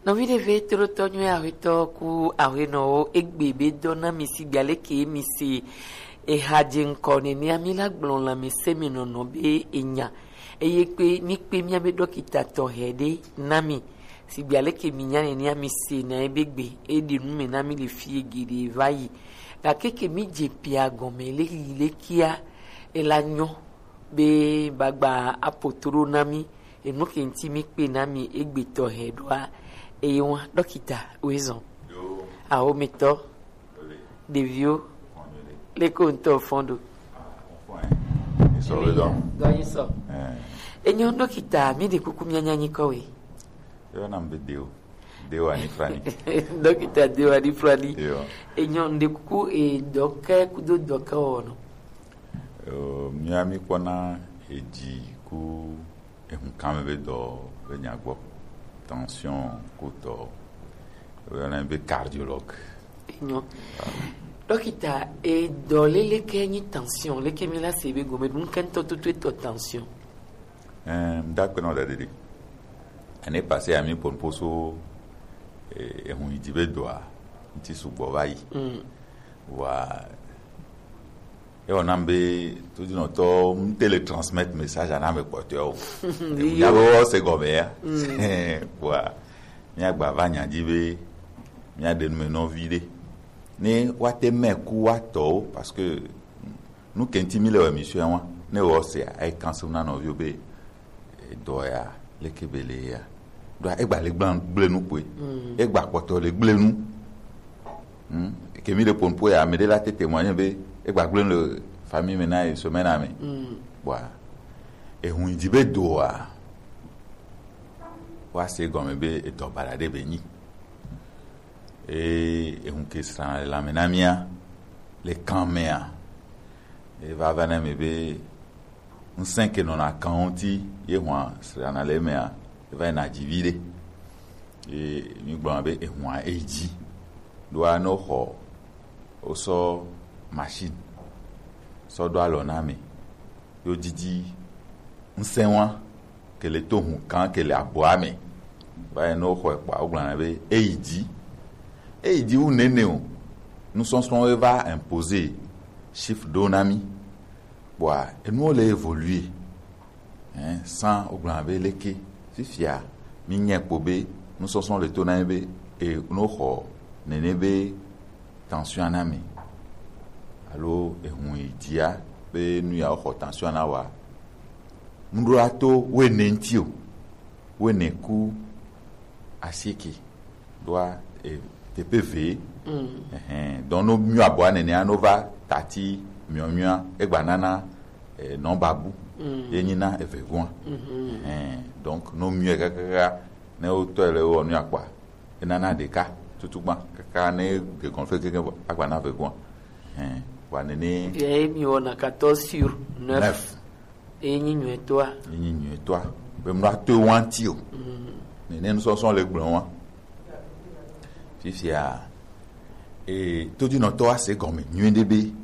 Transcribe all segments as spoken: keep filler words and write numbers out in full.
Nɔvi ɖe ve tolotɔ nyuie ahwetɔ ku ahwenɔwo egbe be dɔ na mi sigba leke mi se eha dze ŋkɔ nenea mi la gblɔ lãmesẽmenɔnɔ be enya. Eye kpe mi kpe mia be ɖɔkita tɔxɛ ɖe na mi sigba leke mi nya nenea mi se na ebe gbe eɖe nu me na mi le fie geɖe va yi. Gake ke mi dze pia gɔme le yi lekea ela nyɔ be bagba apo to ɖo na mi. Enu ke ŋuti mi kpe na mi egbetɔ hɛ ɖoa, eye wa ɖɔkita woezɔn. Yo. Awometɔ, ole, ɖeviwo, fɔn yo le, leko ŋutɔ fɔn ɖo. Ah, on fɔn, hein. Ils sont dedans. Dɔ yi sɔ. Eh. Enyo ɖɔkita, mi ɖe kuku mi anya nyikɔ we. Yo nam be deo. Deo ani frani. Ɖɔkita deo ani frani. Yo. Enyo ɖe kuku e dɔke kudo dɔke wɔnɔ. Yo, mi ami kpɔna eji ku Ehun kan mɛ be dɔ be nya gbɔ. Tension kutɔ. Woyɔna be cardiologue. Enyo. Ɖɔkita, e dɔ lele ke nyi tension, leke mi la se be gome ɖu ŋkɛntɔ tutu etɔ tension. Ɛɛ, ŋdakpe nɔ ɖe ɖeɖe. Ane pase ami pon poso, eh, ehun yi di be dɔa, ŋti sugbɔ va yi. Mm. Wa Ewɔ nam be todinɔtɔ ŋte le transmettre message na ame kpɔtɔewo. Yo. Nya be wɔ se gɔme ya. Mm. Wa mia gba va nya dzi be mia ɖe nume nɔvi ɖe. Ne wa te mɛ ku wa tɔwo parce que nu kenti mi le wɔ émission wa ne wɔ se ai kanse na nɔviwo be edɔ ya leke be le ya. Ɖo egba le gblẽ gblẽ nu kpoe. Mm. Egba kpɔtɔ le gblẽ nu. Hmm? Ke mi ɖe ponpo ya, ame ɖe la te témoigner be egba gblẽ le famille me na ye semaine me. Mm. Bua, ehun yi di be doa, wa se gɔme be edɔ baɖa ɖe be nyi. E ehun ke srã le lãme na mia, le kan mea, e va va na me be ŋsẽ ke nɔna kan ŋuti ye hua srana le emea, eva yina dzi viɖe. Ye mi gblɔna be ehua eyi dzi. Ɖoa ne woxɔ, wosɔ machine sɔ ɖo alɔ na ame, yo didi ŋsẽ wa ke le to hu kan ke le aboa me. Va yi ne woxɔe kpɔa, wogblɔna be eyi dzi. Eyi dzi wu nene o. Nusɔsrɔ̃wo va imposer chiffre ɖo na mi. Kpɔa, enuwo le évoluer. Hein, sans wogblɔna be leke. Fifia, mi nyɛ kpo be nusɔsrɔ̃ le to na mi be, e, ne woxɔ nene be tension na mi. Alo ehun yi dzia be nu ya woxɔ tension na wa. Ŋɖo ato wene ŋti o. Wene ku asieke. Ɖoa, e, teƒe eve. Mm. Ɛhɛn. Donc, no miɔ abɔa nenea, no va tati miɔ miɔa, egba nana, e, nɔ babu. Mm. Ye nyina eve gɔa. Mhm. Ɛhɛn. Donc, no miɔ kakaka, ne wotɔe le wɔ nu akpa, enana ɖeka tutu gba. Kaka ne de conflit keke, agba na eve gɔa. Ɛhɛn. Wa nene. Ye mi wɔna quatorze sur neuf. Neuf. Enyi nyuietɔa. Enyi nyuietɔa. Be mlɔ ato wanti o. Mm. Nene nusɔsɔ le gblɔ wa. Fifia, e, todinɔtɔ wa se gɔme nyuie ɖe be,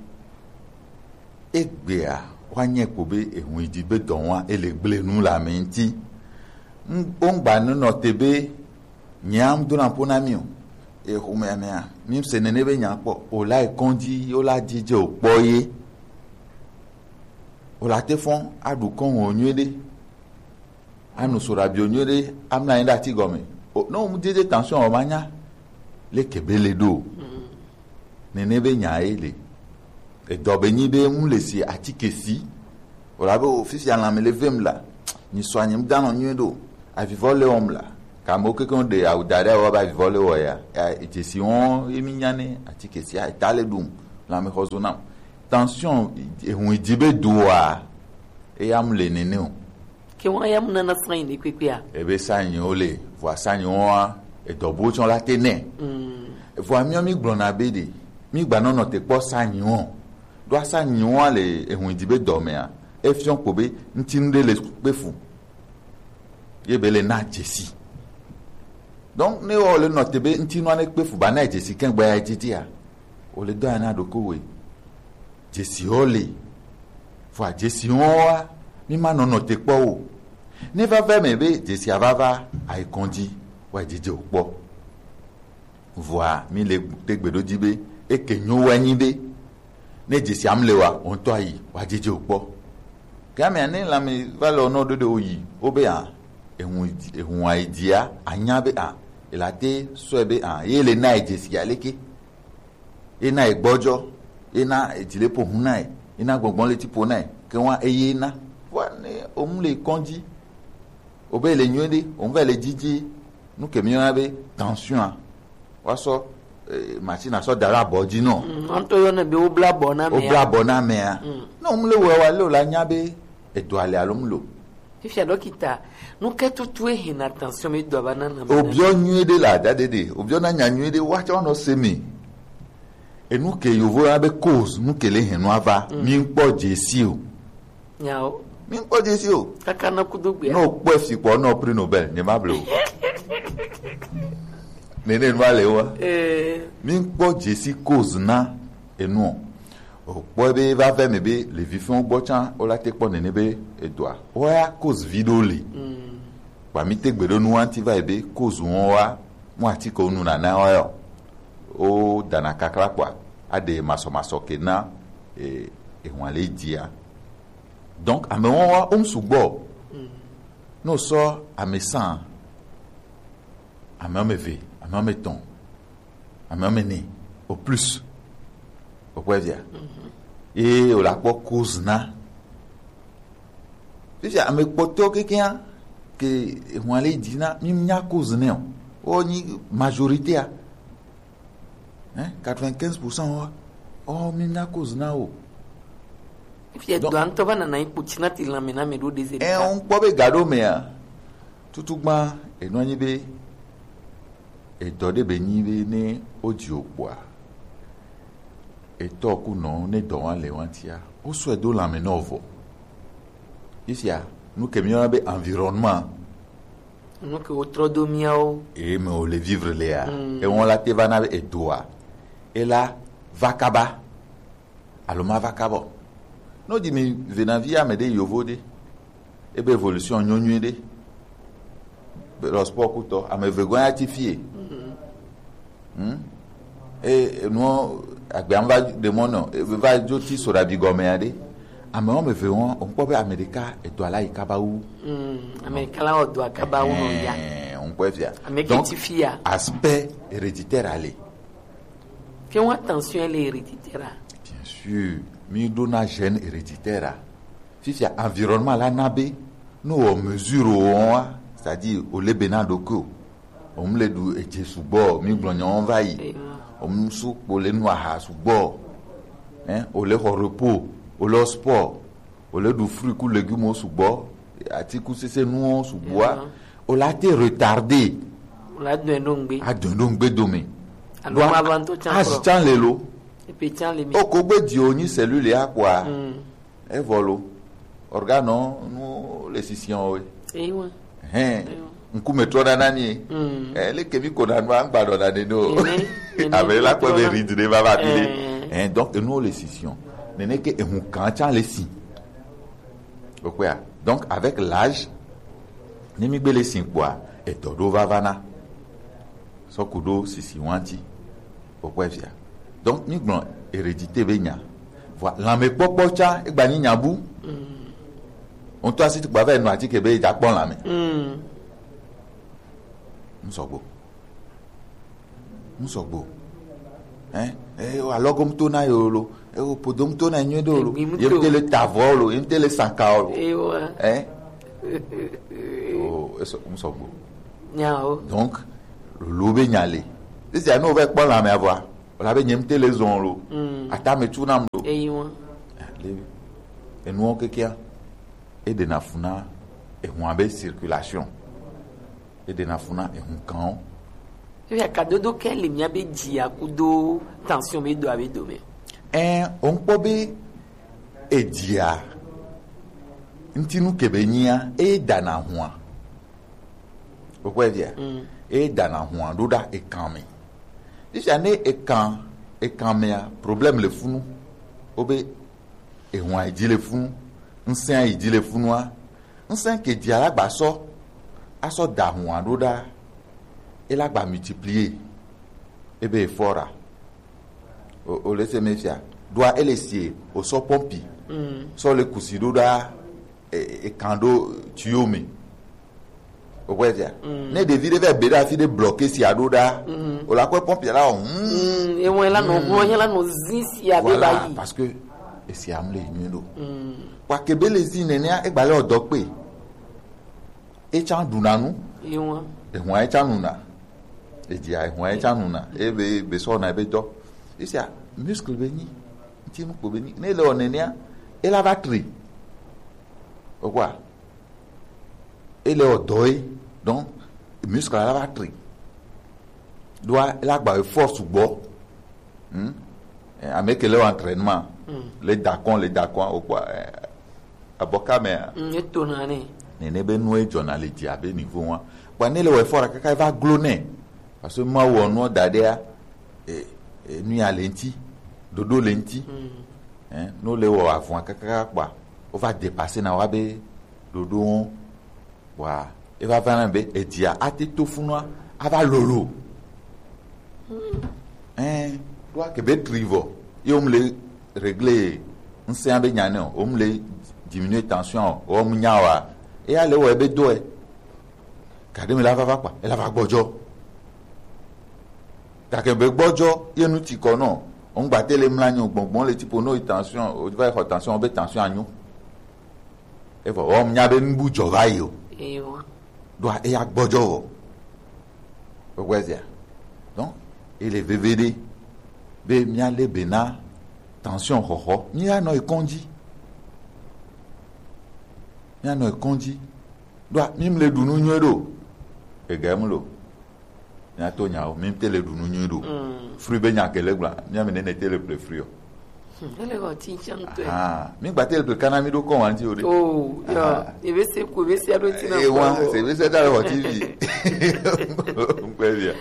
egbea, wa nyɛ kpo be, ehun yi di be dɔ wa, ele gble nu le ame ŋti. Ŋ-, wo ŋgba nɔ te be, nyea ŋ dona ƒo na mi o. E xomea mea, mi se nene be nya kpɔ. O la yi kɔndzi, o la dzidze o kpɔ ye. O la te fɔn, aɖu kɔn o nyuie ɖe. Anu soɖabi o nyuie ɖe, amla anyi ɖe ati gɔme. O, ne o mu dzidze tension o ma nya. Leke be le ɖo. Mm. Nene be nya ye le. Edɔ be nyi be ŋu le si atike si. O la be o fifia lãme le vem la. Nyi sɔ anyi ŋu danɔ nyuie ɖo. Avivɔ le wɔm la. Kame wo keke ŋu ɖe awu da ɖe awɔ be avivɔ le wɔ ya. Ya, dzesi wɔn ye mi nya ne atike si a, eta le ɖum. Lãme xɔ zo nam. Tension, ehun yi di be doa. Eya mu le nene o. Ke wọn ya mu nana sanyi ne kpekpea. Ebe sanyiwo le, vɔa sanyiwo wa, edɔ buwo tsɔ la te nɛ. Mm. Vɔa miɔ mi gblɔna be ɖe, mi gba nɔnɔ te kpɔ sanyiwo. Ɖo sanyiwo le ehun di be dɔ mea, efiɔ kpo be ŋtinu ɖe le kpe fu. Ye be le na dzesi. Donc, ne wɔ le nɔ te be ŋtinu ne kpe fu ba na dzesi kɛn gba ya dzedzia. O le dɔ ya na ɖoko we. Dzesiwo le. Vɔa dzesiwo wa, mi ma nɔnɔ te kpɔ o. Ne va va me be dzesia va va ayi kɔndzi. Wa jeje o kpɔ. Vɔa mi le te gbe ɖo dzi be eke nyo wa nyi be ne dzesi am le wa o ŋutɔ ayi wa jeje o kpɔ. Ke amea ne lãme va le nɔ ɖo ɖe o yi o be a ehun ehun ayi dzia anya be a ela te sɔe be a ye le na ye dzesi aleke. Ena egbɔdzɔ, ena edzileƒo ŋu nɛ, ena gbɔgbɔ le tiƒo nɛ, ke wa eye na. Vɔa ne omu le kɔdzi, obe le nyuie ɖe, omu va le dzidzi, nu ke mi yɔna be tension a, wa sɔ eh, machine a sɔ da ɖe abɔ dzi nɔ. Mm, ɔntɔ yɔ ne be wobla abɔ na mea. Wobla abɔ na mea. Mm. Ne omu le wɔ wa le o la nya be edo ale alo mu lo. Fifia ɖɔkita, nu ke tutu ehe na tension mi do aba na na. Obiɔ nyuie ɖe la da ɖe ɖe, obiɔ na nya nyuie ɖe wa tsɔ nɔ se mi. Enu ke yovo ya be cause nu ke le hɛn nu ava. Mm. Mi ŋkpɔ dzesi o. Nyawo. Mi ŋkpɔ dzesi o. Kaka na kudo gbea. No kpɔ fi kpɔ no prix Nobel ne ma ble o. Nene nu ale wa. Eh. Mi ŋkpɔ dzesi cause na enu o. O kpɔ be va vɛ me be le vi fɛn gbɔ tsan o la te kpɔ nene be edoa. O ya cause vi ɖo le. Mm. Kpa mi te gbe ɖo nu anti va yi be cause wɔn wa mu ati ko nu nana wa yɔ. O dana kakla kpɔa aɖe masɔmasɔ ke na e ehun ale dzia. Donc ame wɔn wa o mu sugbɔ. Mm. No sɔ ame san ame wɔme eve, ame wɔme etɔn, ame wɔme ene au plus. O kpɔ via. Mhm. Ye o la kpɔ cause na. Fifia ame kpɔtɔ kekea ke ehun ale dzi na mi nya cause ne o. O nyi majorité a. Hein, quatre-vingt-quinze pour cent wa. O mi nya cause na o. Fifia donc, do antɔ va nana ikpo tsina ti lãme na me ɖo ɖe ze. Eh, ɖeka. On kpɔ be ga ɖo mea. Tutugba enɔ nyi be edɔ ɖe be nyi be ne o dzi o kpɔa. Etɔ ku nɔ ne dɔ wa le wa tia. O sɔ edo lãme nɔ vɔ. Fifia nu ke mi yɔna be environnement. Nu ke wotrɔ do miawo. Eye me wòle vivre lea, mm, ewɔn la te va na be edoa, ela va kaba alo ma va kaba o. No di mi venavi ame ɖe yovo ɖe, ebe evolution nyo nyuie ɖe. Be le sport kutɔ, ame eve gɔn ya ti fie. Mm. Hmm? E enuɔ agbea va ɖe mɔ nɔ, e va dzo ti so ɖabi gɔmea ɖe. Ame wɔme eve wɔn, o kpɔ be ame ɖeka edɔ ala yi kaba wu. Mm, ame ɖeka la wɔ dɔ kaba wu nɔ ya. Ɛhɛn, o kpɔ fia. Ame ke ti fia. Donc, aspect héréditaire ale. Ke wa tension le héréditaire a. Bien sûr, mi ɖo na gène héréditaire a. Fifia environnement la na be, no wɔ mesure o wa, c'est-à-dire o le be na ɖo ko. Òun le ɖu edze sugbɔ, mi gblɔ nyawo va yi. Ewa. Òun su kpo le nu aha sugbɔ. Hein, o le xɔ repos, o le sport, o le ɖu fruit ku légumes sugbɔ, atikusese nuwo sugbɔa, ewa, o la te retarder. O la dɔn ɖo ŋgbe. A dɔn ɖo ŋgbe dome. Alo ma va ŋutɔ tsan azi kplɔ. Tsan le lo. Epe tsan le mi. O ko gbe di o nyi cellule ya kpɔa. Mm. Evɔ lo, organe nu le sisian o. Ewa. Hɛn, ewa, ŋkume trɔ nana ni. Mm. Eh, le kemi ko na nu angba dɔ na ne no. Ene, ene, ame la kpɔ be trɔ na ride ne va va bi le. Eh. Hein, donc enu le sisian. Nene ke ehun kan tsa le si. O kpɔa. Donc avec l'âge, ne mi gbe le si kpɔa, edɔ ɖo va va na. Sɔ ku ɖo sisi wanti. Kpɔkpɔe fia. Donc mi gblɔ hérédité be nya. Vɔ lãmekpɔkpɔ tsa egba nyi nya bu. Mm. Ŋutɔ asi tukpa va nɔ atike be dza kpɔ lãme. Mm. Ŋsɔgbo. Ŋsɔgbo. Hein? Eh, alɔgomto na yo lo. E wo podomto na nyuie ɖe o lo. Ye ŋute le ta avɔ o lo, ye ŋute le sanka o lo. Ewa. Hein? Oh, eso ŋsɔgbo. Nyawo. Donc, lolo be nya le. Esi anu o va kpɔ lãme avɔa. O la be nye ŋute le zɔn lo. Mm. Atame tu nam lo. Eyi wa. Le enuwo kekea. E ɖena fu na ehun abe circulation. E ɖena fu na ehun kan o. Eya kadodo ke le mia be dzia kudo tension be do abe dome. Ɛn, o ŋkpɔ be edzia ŋtinu ke be nyia, e dana hua. O kpɔ via? Mm. E dana hua ɖo ɖa ekan me. Fifia ne ekan, ekan mea, problème le funu. O be ehun ayi dzi le funu, ŋsɛn ayi dzi le funua, ŋsɛn ke dzi alagba sɔ, asɔ da hua ɖo ɖa E la gba multiplier. E be e fort a. O, o le se me fia. Ɖoa e le sie o sɔ pɔmpi. Mm. Sɔ le kusi ɖo ɖa e, e kan ɖo tuyau me. O kɔe fia. Mm. Ne ɖevi ɖe vɛ be ɖa fi ɖe bloqué si a ɖo ɖa. Mm. O la kɔe pɔmpi la o. Mm. Mm, e wɔn la nɔ gblɔ, la nɔ zin si a be ba yi. Voilà, parce que esi am le nyuie ɖo. Mm. Wa ke be le zin nenea e gba le o dɔ kpe. Etsa ɖuna nu. Ehua. Ehua etsa nuna. Edzia ehua etsa nuna. Ebe be sɔ na ebe dɔ. Esia muscle be nyi. Ŋti nu kpo be nyi. Ne ele wɔ nenea, ela va tri. Okwa. Ele wɔ dɔ ye. Donc, muscle la va tri. Ɖoa ela gba force gbɔ. Hmm? Eh, ame ke le wɔ entraînement. Hmm. Le dakɔn, le dakɔn, o kpɔ, eh, abɔka mea. Hmm, eto na ne. Nene be nu edzɔna le dzi abe niveau wa. Kpɔ ne le wɔ effort kaka eva glo ne. Parce que ma wɔ nu da ɖea, eh, eh, nu ya le ŋti, ɖoɖo le ŋti. Hmm. Eh, no le wɔ avɔn kaka kpɔ, o va dépasser na wa be ɖoɖo. Wa, e va va na be edzia ate to funua ava lolo. Ɛn, ɖo ake be tri vɔ. Ye wo mu le régler ŋsɛa be nya ne o, wo mu le diminuer tension o, wo mu nya wa. E ya le wɔ ebe do ɛ. Gade mi la va va kpa, e la va gbɔdzɔ. Gake be gbɔdzɔ ye nu ti kɔ nɔ. O ŋgba te le mla nyo gbɔngbɔn le tipo no tension, o va xɔ tension be tension anyo. Evɔ wɔm nya be nubu dzɔ va yi o. Ewa. Ɖoa eya gbɔdzɔ wɔ. Gbɔgbɔ ezia. Donc, ele veve ɖe be mía le be na tension xɔxɔ. Mía nɔ ekɔn dzi. Mía nɔ ekɔn dzi. Ɖoa mi mle ɖu nu nyuie ɖo. Ega mu lo. Mía to nyawo, mi te le ɖu nu nyuie ɖo. Mm. Fruit be nya ke le gbla, mía mi nene te le ple fruit o. Hmm, ele wɔ ti ŋtsɛ ŋutɔe. Ah, mi gba te le ple kana mi ɖo kɔ wa ŋti o ɖe. Oh, ya. Ah. Ebe se ku, ebe se aɖo ti na. E wa, se ebe se da le wɔ T V. Ŋkpɛ via.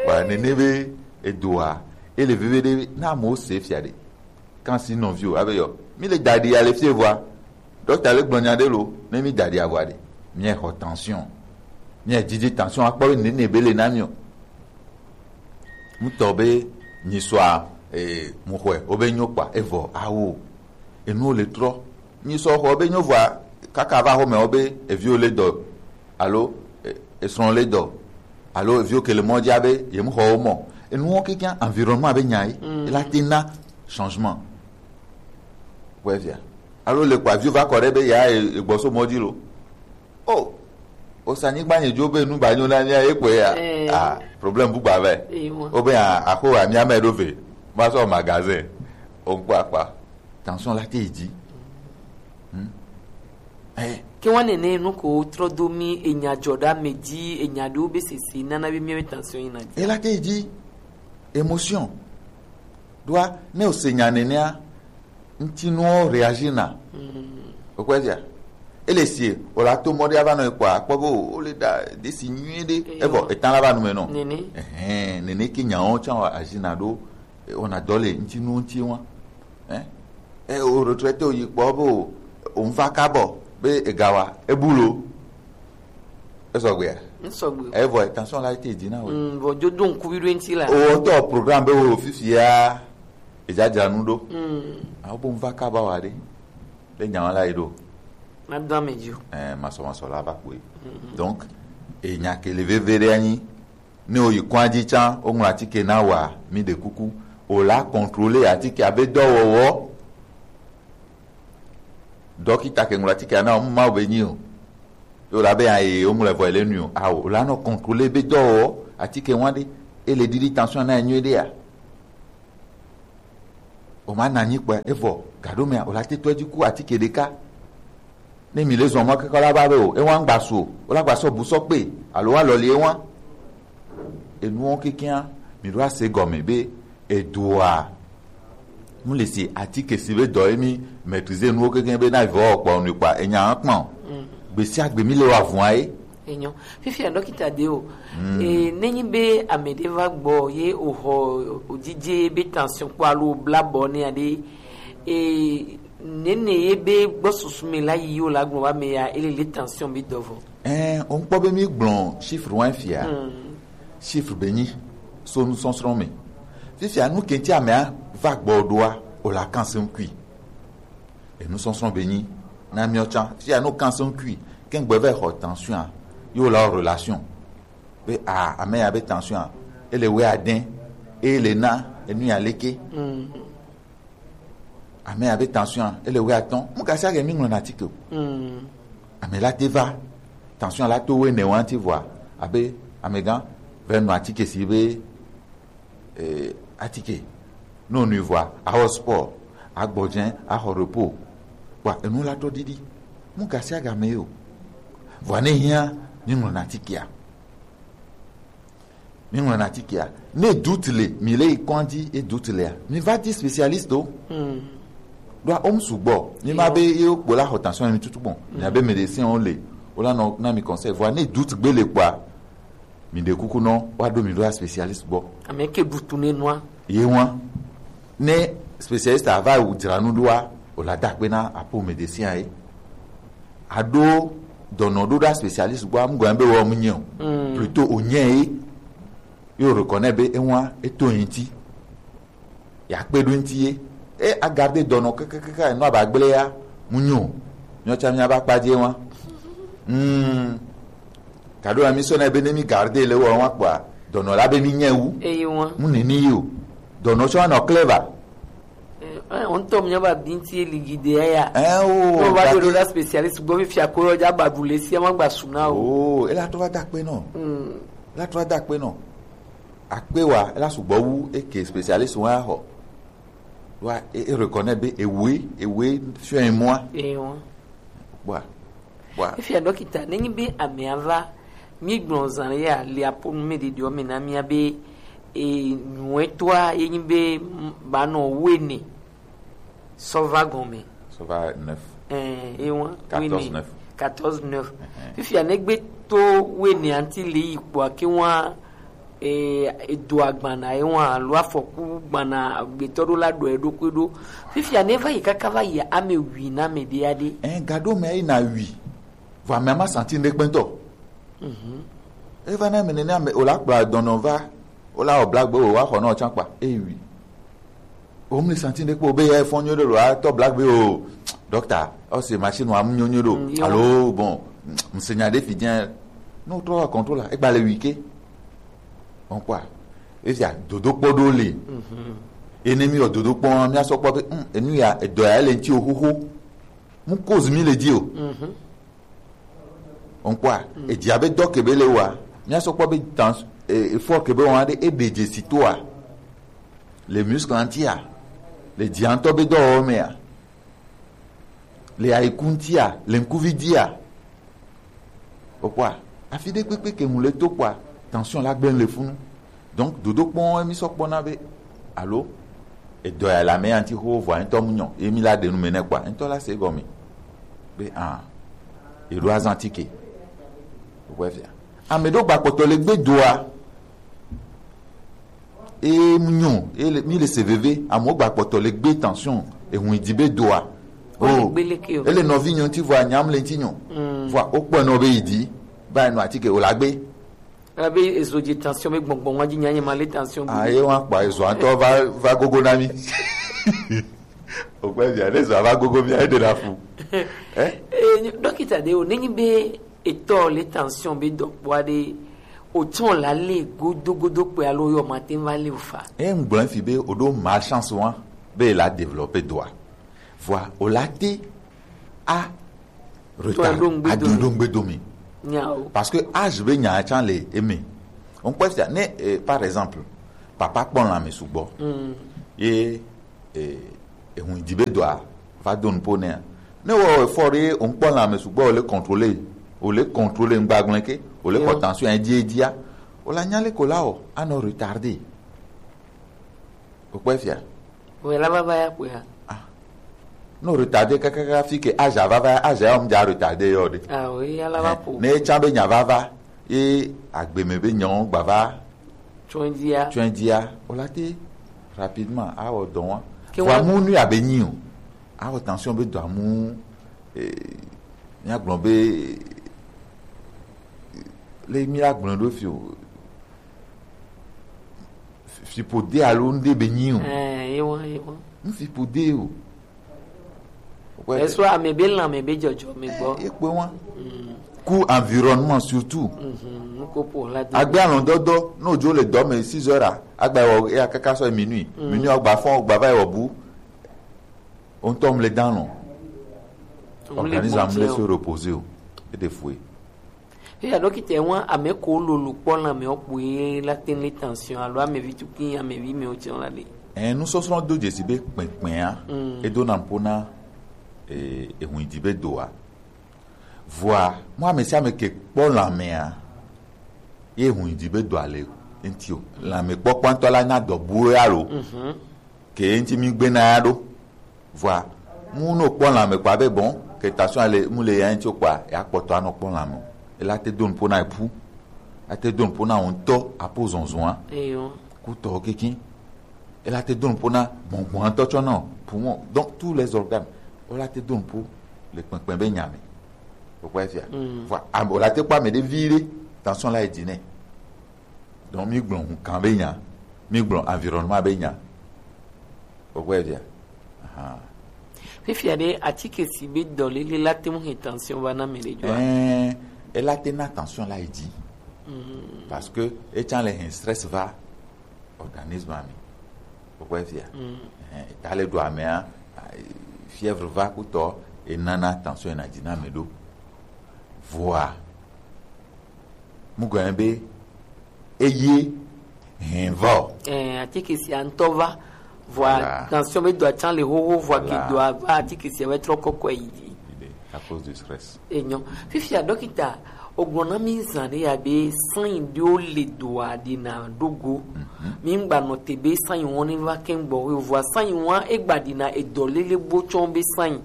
Wa nene be edoa, ele veve ɖe na mo se fia ɖe. Kan si nɔvi o, abe yɔ. Mi le da ɖi ale fie vɔa. Dɔkta le gblɔ nya ɖe lo, ne mi da ɖi avɔa ɖe. Mi xɔ tension. Mi didi tension akpɔ be nene be le na mi o. Ŋutɔ be mi sɔa, eh, mu xɔe, wo be nyo kpa, evɔ, awo. Enu le trɔ. Mi sɔ xɔ be nyo vɔa, kaka va xɔ me wo be, eviwo le dɔ. Alo, e, esrɔ̃ le dɔ, alo eviwo ke le mɔ dzi abe yem xɔ wo mɔ. Enuwo kekeŋ environnement be nya ye, mm, ela te na changement. Kpɔe fia. Alo le kpa viwo va kɔ ɖe be ya e, egbɔ so mɔ dzi lo. O, o sa nyigba nye dzo be nu ba nyo na mía ye kpɔe ya. Eh. Ah, problème bu gba vɛ. Eh, wa. O be a, axo wa mía me ɖo ve. Ma sɔ magasin. O ŋkpɔ akpa. Tension la te yi dzi. Hmm? Eh. Ke wa nene nu ko trɔ do mi enya dzɔ ɖe ame dzi, enya ɖewo be sese nana be míawo tension yina dzi. Ela te yi dzi. Émotion. Ɖoa, ne o se nya nenea, ŋutinuwo réagir na. Hmm. O kpɔe fia. Ele sie, o la to mɔ ɖe ava nɔ ekpɔa, akpɔ be o, o le da ɖe si nyuie ɖe. Eyo. Evɔ, etan la va nu me nɔ. Nene. Ehɛn, nene ke nyawo tsã wa agir na ɖo. E, wɔna dɔ le ŋutinuwo ŋuti wa. Hein? E, o retraité o yi kpɔ be o, o ŋfa kabɔ be ega wa, e bu lo. E sɔgbea? N sɔgbe. E vɔ tension la te dzi na we. Mm, vɔ dzo do ŋku bi ɖo ŋti la. O tɔ programme be o fifia, e dzadzra nu ɖo. Mm. Awo bo ŋfa kaba wa ɖe. Be nya wa la yi ɖo. Ma do ame dzi o. Eh, masɔ masɔ la va kpoe. Mm. Donc, e nya ke le veve ɖe anyi. Ne o yi kɔn dzi tsã, o ŋlɔ atike na wa, mi ɖe kuku. O la contrôler atike abe dɔwɔwɔ. Dɔkita ke ŋlɔ atike na o, ma o be nyi o. Yo la be aye o ŋlɔ vɔ ele nu o. Awo, o la nɔ contrôler be dɔwɔwɔ atike wa ɖe. E le ɖiɖi tension na nyuie ɖe ya. O ma na anyi kpɔe, evɔ, gaɖo mea, o la te tɔ edzi ku atike ɖeka. Ne mi le zɔn mɔ keke la va be o, e wa ŋgba su o, o la gba sɔ bu sɔ kpe, alo wa lɔli e wa. Enuwo kekea, mi ɖo ase gɔme be, edoa, mu le si atike si be dɔ emi maîtriser nuwo keke be na vɔ kpɔ nu kpa, enya hã kpɔ. Mm. Gbe sia gbe mi le wa vɔa ye. Enyo. Fifia dɔkita de o. Mm. E, nenyi be ame ɖe va gbɔ ye o xɔ o dzidze be tension kpɔ alo o bla bɔ ne aɖe. E, nene ye be gbɔ susu me la yi o la gbɔ ba me ya ele le tension be dɔvɔ. Ɛn, o ŋkpɔ be mi gblɔ chiffre wa fia. Mm. Chiffre be nyi so nusɔsrɔ̃ me. Fifia nu ke ŋuti amea va gbɔ ɖoa, o la kan se ŋkui. Enusɔsrɔ̃ be nyi na miɔ tsã. Fifia no kan se ŋkui ke ŋgbe va xɔ tension a, yo la relation. Be a ame ya be tension a, ele wɛ adɛn, e le na enu ya leke. Ame abe tension, ele wɛ atɔ̃. Mu gasi age mi ŋlɔ na atike o. Ame la te va, tension la to wɛ ne wanti vɔa, abe amegã vɛ nu atike si be eh, atike. No nu vɔa, awɔ sport, agbɔdze, axɔ repos. Kpa enu la tɔ didi. Mu gasi aga me yo. Vɔa ne hia, mi ŋlɔ na atikea. Mi ŋlɔ na atikea. Ne doute le, mi le yi kɔndzi e doute lea, mi va di spécialiste o. Ɖoa o mu sugbɔ. Mi ma be ye kpo la xɔ tension mi tutu gbɔn. Mi abe médecin o le. O la nɔ na mi conseil. Vɔa ne doute gbe le kpɔa, mi ɖe kuku nɔ wa ɖo mi ɖo a spécialiste gbɔ. Ame ke ɖutu ne nua. Ye wa. Ne spécialiste a va wu dzra nu ɖoa, o la da kpe na apo médecin ye. A ɖo dɔnɔ ɖo ɖa spécialiste gbɔ, amu gɔn be wɔ mu nye o. Plutôt o nye ye. Yo reconnaît be e wa e to yin ti. Ya kpe ɖo ŋuti ye. E a garde dɔnɔ kekekeke nɔ aba gblẽ ya, mu nyo. Nyɔ tsa mi aba kpa dzi wa. Hmm. Kaɖo ami sɔ na be ne mi garde le wɔ wa kpɔa, dɔnɔ la be mi nye wu. Eyi wa. Mu nini yo. Dɔnɔ tsɔ nɔ clever. Eh, eh, on tom nyaba binti e ligi de ya. Eh o. No ba do da spécialiste gbɔ fifia ko yɔ dza ba du le si ma gba suna o. Oh, e la to va da kpe nɔ. Hmm. E la to va da kpe nɔ. Akpe wa, e la sugbɔ wu eke spécialiste wa xɔ. Wa e, e reconnaît be ewe, ewe fiɔ emua. Ewa. Bua. Bua. Efia dɔkita, nenyi be amea va, mi gblɔ zan ya le aponu me ɖeɖeɔ me na mia be e nyuɛtɔa ye nyi be m- ba nɔ wene sɔ va gɔme. Ça va neuf. Eh, e wan. Quatorze neuf. Quatorze neuf. Fifia ne gbe to wene anti le yi kpɔa ke wan e edo agbana e wan alo afɔku gbana agbetɔ ɖo la ɖɔ e ɖokui ɖo. Fifia ne va yi kaka va yi ame wi na ame ɖe ya ɖe. Eh, gaɖo me yi na wi. Vɔ ame ma santi ɖe kpɛntɔ. E va na ame nene ame o la kplɔ dɔnɔ va o la o blagbe o wa xɔ nɔ tsã kpa e wi. O mu santi ɖe kpɔ be ya fɔn nyo ɖe lo a tɔ blagbe o. Doctor, o se machine wa mu nyo nyo ɖo. Mm, yo. Alo bon, nsenya ɖe fi dze. No trɔ wa contrôle e gba le wi ke. Bon quoi. Efia dodo kpɔ ɖo le. Ene mi o dodo kpɔ mi a sɔ kpɔ be hmm, enu ya edɔ ya le ŋti o xoxo. Mu cause mi le di o. Onkpɔa, edzia be dɔ ke be le wa, mia sɔ kpɔ be dans e efɔ ke be wa ɖe e ɖe dzesi toa, le muscle ŋtia, le dzia ŋtɔ be dɔwɔwɔ mea, le ayiku ŋtia, le ŋkuvi dia. Okpɔa, afi ɖe kpekpe ke ŋu le to kpɔa, tension la gblẽ le funu. Donc dodo kpɔn emi sɔ kpɔna be alo edɔ ya la me anti ho vɔ ŋtɔ mu nyɔ emi la ɖe nu me ne kpa ŋtɔ la se gɔme be ah eɖo azan tike. Okpɔ fia ame ɖo gba kpɔtɔ le gbe doa e mu nyɔ e le mi le se veve amewo gba kpɔtɔ le gbe tension ehun di be doa. Wole o gbe leke o. Ele nɔvi nyɔ ŋti vɔ anyam le ŋti nyɔ vɔ okpɔ nɔ be yi di ba enɔ atike o la gbe. Elabe ezo dze tension be gbɔngbɔn wa dzi nya nye ma le tension be. Aye wa kpa ezo atɔ va va gogo na mi. Ogbe via ne zo va gogo mi ayi de na fu. Eh? Eh, dɔkita de o nenyi be etɔ le tension be dɔkpɔa de o tsɔn la le godo godo kpe alo yɔ ma te va le o fa. E ŋgblɔ fi be o ɖo malchance wa be la développer doa. Vɔa o la te a retard aɖoɖongbedomi. Parce que âge be nya tsã le eme. On peut dire ne eh, par exemple papa kpɔ lãme sugbɔ ye eh, ehun di be dɔa va do nupo nea ne wɔ efɔ ɖe o ŋkpɔ lãme sugbɔ o le contrôler o le contrôler ŋgbagblẽ ke o le kɔ tension edia edia o la nya le ko la o anɔ retardé. Okpɔe fia. Wòe la vava ya kpɔe ha. Ah. No retardé kakaka fi ke aza vava ya aza ya ɔmu dza retardé yɔ ɖe. Ah oui, ya la va po. Ne tsa be nya vava ye agbeme be nyɔn gbava. Tsoendia. Tsoendia. O la te rapidement awɔ dɔn wa. Ke vɔ wa- amu nu ya be nyi o. Awɔ tension be dɔ amu eh, mia gblɔ be le mi la gblɔ ɖo fi o. Fipo de alo ŋɖe be nyi o. Ɛɛ, ye wɔn, ye wɔn. Ŋ fipo de o. Wɛ- Eso ame be lã ame be dzɔdzɔ me gbɔ. Ye kpe wɔn. Ku environnement surtout. Mhm, nuko po la do. Agbe alɔdɔdɔ, no jo le dɔ me six heures a, agba wɔ ya kaka sɔ minuit. Minuit agba fɔn, agba va wɔ bu. O ŋutɔ mle dan lɔ. Organisme mle se reposer o. E de fue. Eya dɔkita ŋua ame ko lolo kpɔ lãme wo kpoe la te le tension alo amevi tukin amevi me wo tiɔn la le. Ɛn, nusɔsrɔ̃ do dzesi be kpɛkpɛa edo na ƒo na eh, ehuidi be doa. Vɔa, mo ame sia ame ke kpɔ lãmea, ye ehuidi be doa le ŋti o. Lãme kpɔkpɔ ŋutɔ la nya dɔ bue alo ke ŋti mi gbe na ya ɖo. Vɔa, mu no kpɔ lãme kpa be bon, ke tension le mu le ya ŋti o kpa, ya kpɔtɔ anɔ kpɔ lãme o. Ela te do nuƒo na epu. Ate do nuƒo na ŋutɔ apo zɔnzɔn a. Eyo. Kutɔ kekin. Ela te do nuƒo na gbɔngbɔn ŋutɔ tsɔ na poumon. Donc tous les organes. Ola te do nuƒo le kpɛkpɛ be nya me. O kpɔ efia. Vɔa, am- ola te kpɔ ame ɖe vi ɖe. Tension la yi dzi nɛ. Donc mi gblɔ hukan be nya, mi gblɔ environnement be nya. O kpɔ efia. Ahan. Fifia ɖe atike si be dɔlele la te mu he tension va na ame ɖe dzɔa? Ɛɛ, ela te na tension la yi dzi. Parce que etsa le he stress va organisme ame. O kpɔ efia. Ɛɛ, ta le do amea, fièvre va kutɔ, enana tension na dzi na ame ɖo. Vɔa, mu gɔme be eye hɛn va o. Ɛɛ, atike sia ŋutɔ va. Vɔa tension be dɔa tsan le xoxo vɔa ke dɔa va atike sia va trɔ kɔkɔe yi dzi. À cause du stress. Enyo. Fifia dɔkita, o gblɔ na mi zan ɖe ya be sanyi ɖewo le dɔa ɖi na ɖo go. Mi ŋgba nɔ te be sanyi wɔn ne va kɛn gbɔ o vɔa sanyi wɔn egba ɖi na edɔ lele bo tsɔ be sanyi.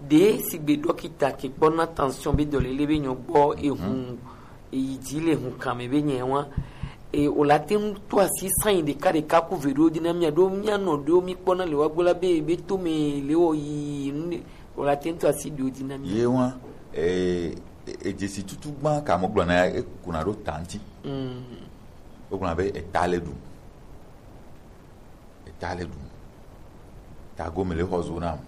Ɖe sigbe dɔkita ke kpɔ na tension be dɔlele be nyɔ gbɔ ehu eyi dzi le hu kan me be nyɛ wa e o la te ŋu to asi sanyi ɖeka ɖeka ku ve ɖewo dzi na mia ɖo mia nɔ ɖewo mi kpɔ na le wa gbo la be be to me le wɔ yi nu ɖe o la te ŋu to asi ɖewo dzi na mia. Ye wa e e- edzesi tutu gba ka mo gblɔ na e kuna ɖo ta ŋti. Mm. O gblɔ na be eta le ɖu. Eta le ɖum. Tago me le xɔ zo nam.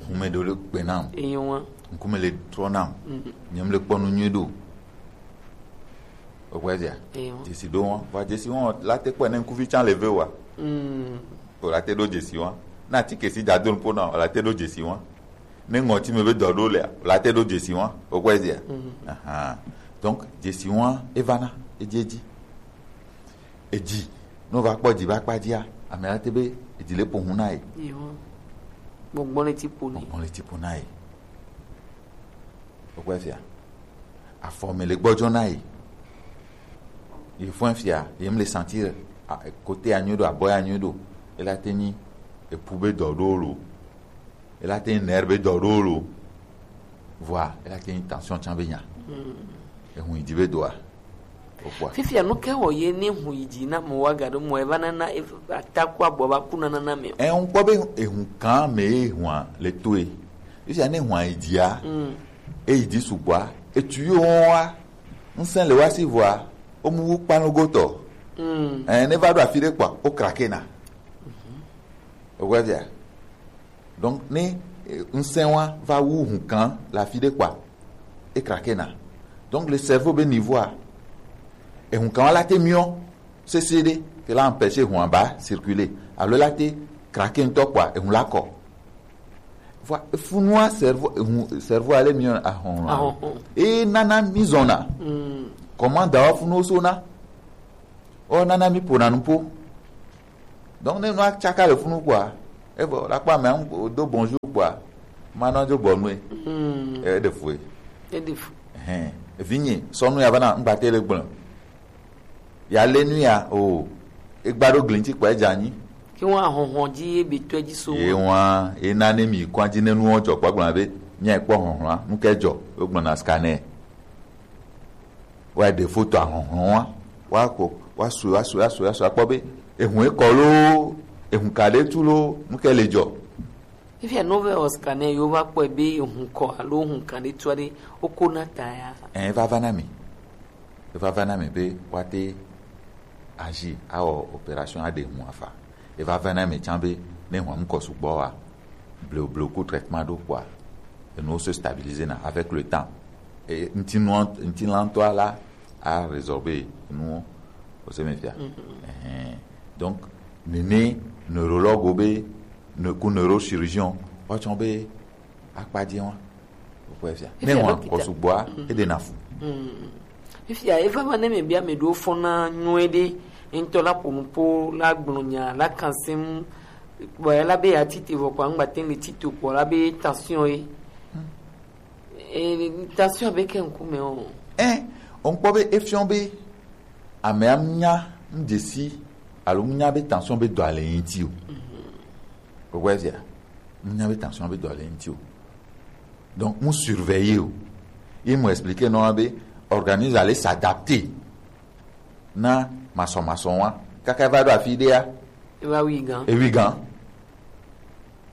Hume ɖewo le gbe nam. Eyo wa. Ŋkume le trɔ nam. Nyem le kpɔ nu nyuie ɖo. O kpɔ ezia? Eyo. Dzesi ɖo wa. Va dzesi wa la te kpɔ ne ŋkuvi tsan le ve wa. O la te ɖo dzesi wa. Na ti kesi da do nupo na o la te ɖo dzesi wa. Ne ŋɔti me be dɔ ɖo lea o la te ɖo dzesi wa. O kpɔ ezia? Ahan. Donc dzesi wa evana edzi edzi. Edzi, ne wova kpɔ edzi va kpa dzia, ame la te be edzi le ƒo hu na ye. Gbɔgbɔ le ti ƒo nɛ. Gbɔgbɔ le ti ƒo na ye. Wokpɔ efia. Afɔ me le gbɔdzɔ na ye. Ye fɔn fia, ye me le sentir kote ya nyuie ɖo, abɔ ya nyuie ɖo. Ela te nyi epu be dɔ ɖo lo. Ela te nyi nerf be dɔ ɖo lo. Vɔa, ela te nyi tension tsan be nya. Ehun yi dzi be doa. Okpɔa. Fifia nu ke wɔ ye ne hu yi dzi na mo wa ga ɖo mo eva nana ataku abɔ va ku nana na me. Ɛ ŋkpɔ be ehun kan me ye hua le toe. Fifia ne hua yi dzia. E yi dzi sugbɔa. Etu yo wa. Ŋsɛn le wa si vɔa. O mu wu kpanu gotɔ. Ɛ ne va ɖo afi ɖe kpɔa. O krake na. Okpɔ fia. Donc ne ŋsɛn wa va wu hun kan le afi ɖe kpɔa, e krake na. Donc le cerveau be niveau a, ehun kan wa la te miɔ sese ɖe ke la empêcher ehun a ba circuler alo la te krake ŋutɔ kpɔa ehun la kɔ. Vɔa efunua cerveau ehun cerveau a le miɔ ahɔn. Ahɔn. E nana mi zɔna. Comment da wa funuwo sona. O nana mi ƒona nuƒo. Donc ne nua tsaka le funu kpɔa, evɔ la kpɔ amea ŋu do bonjour kpɔa, ma nɔ dzo bɔ nue. E ɖe fue. Eɖe fu. Hɛn, evinye sɔ nu ya va na ŋgba te le gblẽ. Ya le nu ya o, egba ɖo gli ŋti kpɔa edze anyi. Ke ŋua hɔhɔn dzi ye be tɔe dzi so. Ye ŋua, ye na ne mi kɔ dzi ne nuwo dzɔ kpɔ gblɔ be mia kpɔ hɔhɔn nu ke dzɔ, wo gblɔ na scanner. Wa ɖe foto ahɔhlɔn wa, wa ko wa su wa su wa su wa su akpɔ be ehun ekɔ loo, ehun ka ɖe tu loo, nu ke le dzɔ. Fifia no ve Oscar ne yo va kpɔe be ehun kɔ alo ehun ka ɖe tu aɖe woko na ta ya. Ɛ vava na mi, vava na mi be wa te Agi awɔ opération aɖe ŋu afa. Eva vɛ na mɛ tsã be ne hwan ŋkɔ sugbɔ wa, bleubleku traitement ɖo kpoa, enuwo se stabiliser na avec le temps. E, ŋutilã, ŋutilãtɔa la a résorber enuwo. Ose me fia. Ɛhɛn. Donc nene neurologue be ne, ku neurochirurgien woatsɔ be akpadze wa. Wokpɔe fia. Ne ŋua kɔ sugbɔa, eɖe na fu. Fifia eva va ne me bia me ɖo fɔna nyuie ɖe, ŋutɔ la ƒo nu po la gblɔ nya la kan sem, bɔ ela be ya tite vɔ kɔ angba te le tito kɔ la be tension ye. E, tension be ke ŋkume o. Ɛ, o ŋkpɔ be efiɔ be amea nya ŋdzesi alo ŋnya be tension be dɔ ale ŋuti o. Wokpɔe fia. Ŋnya be tension be dɔ ale ŋuti o. Donc mu surveiller o. Ye mu expliquer nɔ be organisme allait s'adapter na masɔmasɔ wa kaka va ɖo afi ɖea. Eva wi gan. Ewi gan.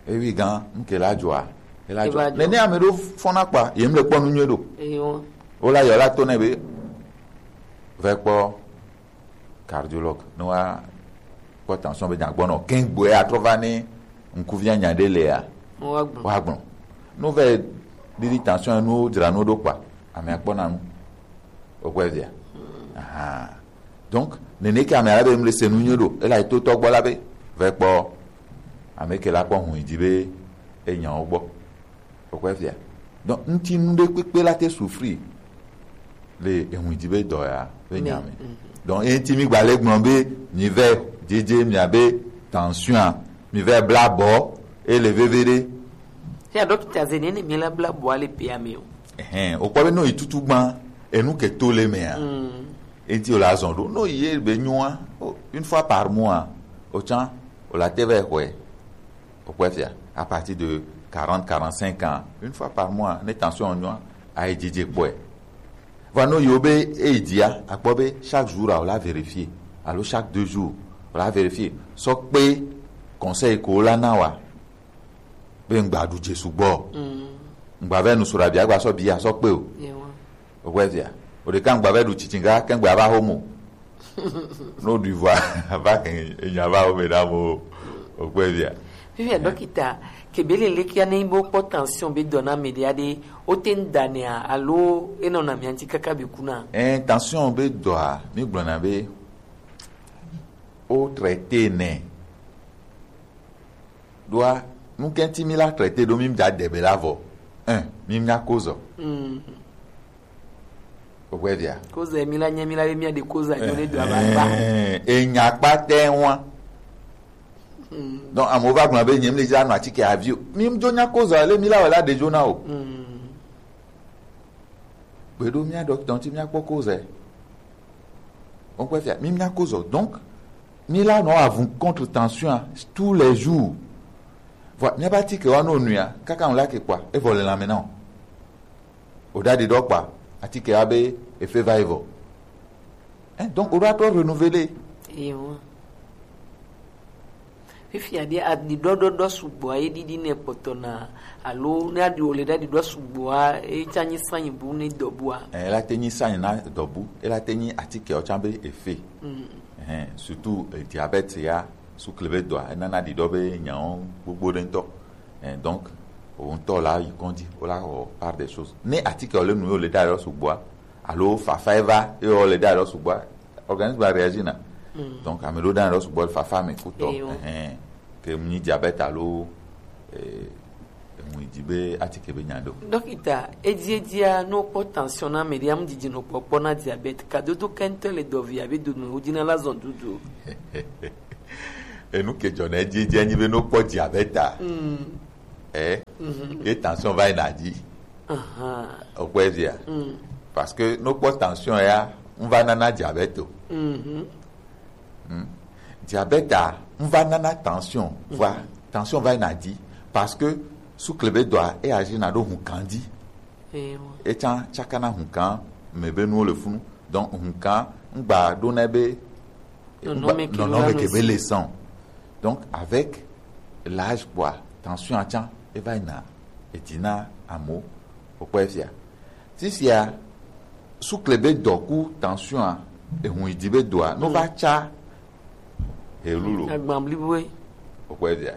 Ewi gan, ŋke la dzɔa. Ela dzɔ. Nene ame ɖo fɔna kpa, yem le kpɔ nu nyuie ɖo. Eyo. Wola yɔ la to ne be, vɛ kpɔ cardiologue, ne wa kpɔ tension be nyagbɔnɔ kɛn gbɔe atrɔ va ne ŋkuvia nya ɖe lea. Wa gbɔn. Wa gbɔn. No vɛ ɖiɖi tension nu dzra nu ɖo kpa, ame akpɔ na nu. Wokpɔe fia. Aha. Donc nene ke ame ale be mle se nu nyuie ɖo, ela to tɔ gbɔ la be, vɛ kpɔ ame ke la kpɔ hu yi dzi be enyawo gbɔ. Wokpɔe fia. Donc ŋuti nu ɖe kpekpe la te souffrir le ehu dzi be dɔ ya be nya me. Donc enti mi gba le gblɔ be mi vɛ dzedze mia be tension, mi vɛ bla bɔ, ele veve ɖe. Fia dɔkita ze ne ne mi la bla bɔ ale pe ame o. Ɛhɛn, o kpɔ be no yi tutu gban, enu ke to le mea. Enti o la zɔn ɖo, no yi be nyua, o, une fois par mois, o tsã, o la te vɛ xɔe. Wokpɔe fia, à partir de quarante, quarante-cinq ans, une fois par mois, ne tension nyua, ayi dzidzi kpɔe. Vɔ no yiwo be eyi dzia, akpɔ be chaque jour a, o la vérifier, alo chaque deux jours, o la vérifier. Sɔ kpe conseil ko la na wa, be ŋgba ɖu dze sugbɔ. Ŋgba vɛ nu sura bia, gba sɔ bia sɔ kpe o. Wokpɔe fia. O ɖeka ŋgba vɛ ɖu tsitsinga, ke ŋgba va homo. No ɖui vɔa, va ke enya va wo me na mo. Wokpɔe fia. Fifia dɔkita, ke be le lekia ne bo kpɔ tension be dɔ na me ɖia ɖe, o te ŋ da nea, alo enɔ na mia ŋti kaka be kuna? Ɛ, tension be dɔa, mi gblɔna be o traiter nɛ. Ɖoa, nu ke ŋti mi la traiter ɖo mi da de be la vɔ. Ɛ, mi nya kozɔ. Wokpɔe fia. Kozɔ mi la nye mi la be mi aɖe kozɔ anyo ne do aba gba. Ɛ, enya kpatɛ wa. Donc amewo va gblɔ be nye mi le dza nɔ atike avi o. Mi dzo nya kozɔ le mi la wɔ la ɖe dzo na o. Gbeɖo mía dɔkita ŋuti mía kpɔ kozɛ. Wokpɔe fia, mi mía kozɔ. Donc mi la nɔ avu contre tension tous les jours. Vɔ mía ba atike wa no nuia, kaka ŋu la ke kpɔa, evɔ le lãme na o. O ɖa ɖi ɖɔ kpa, atike wa be efe va evɔ. Hein, donc o ɖo atrɔ renouveler. Ewa. Fifia ɖe aɖiɖɔ ɖɔɖɔ sugbɔa ye ɖiɖi ne kpɔtɔ na alo ne aɖi wòle ɖe aɖiɖɔ sugbɔa ye tsa nyi sanyi bu ne dɔbua. Ɛ, ela te nyi sanyi na dɔbu, ela te nyi atike ɔtsa be efe. Mm. Ɛhɛn, surtout, eh, diabète ya, sukle be dɔa, enana ɖiɖɔ be nyawo gbogbo ɖe ŋutɔ. Ɛ, donc, o ŋutɔ la yi kɔndzi, o la wɔ part des choses. Ne atike wòle nu ye wòle ɖe aɖiɖɔ sugbɔa, alo fafa eva ye wòle ɖe aɖiɖɔ sugbɔa, organisme la réagir na. Mm. Donc ame ɖewo ɖe aɖiɖɔ sugbɔ le fafa me kutɔ. Eyo. Ɛhɛn. Ke mu nyi diabète alo, eh, emu yi dzi be atike be nya ɖo. Dɔkita, edzi edzia ne wokpɔ tension na ame ɖe, amu didi nɔ kpɔkpɔ na diabète. Kadodo kɛntɛ le dɔvi abe do no wodzi na la zɔn dudu. Enu ke dzɔ na edzi edzia nyi be ne wokpɔ diabète a. Mm. Eh, mhm. Ye tension va yina dzi. Aha. Wokpɔe fia. Mm. Parce que ne wokpɔ tension ya, ŋu va nana diabète o. Mhm. Hmm. Diabète a, ŋu va nana tension, mhm, vɔa, tension va yina dzi. Parce que sukle be dɔa, e agir na ɖo hukan dzi. Ewa. Etsa tsakana hukan me be nuwo le funu. Donc hukan ŋgba ɖo na be nɔnɔme ke be le sɔn. Donc avec l'âge kpɔa, tension atsa eva yina edzi na amewo. Wokpɔe fia. Fifia sukle be dɔ ku tension a, Ehun yi di be doa, no va tsa. Hello. Agban blibo e. Okpɔ via.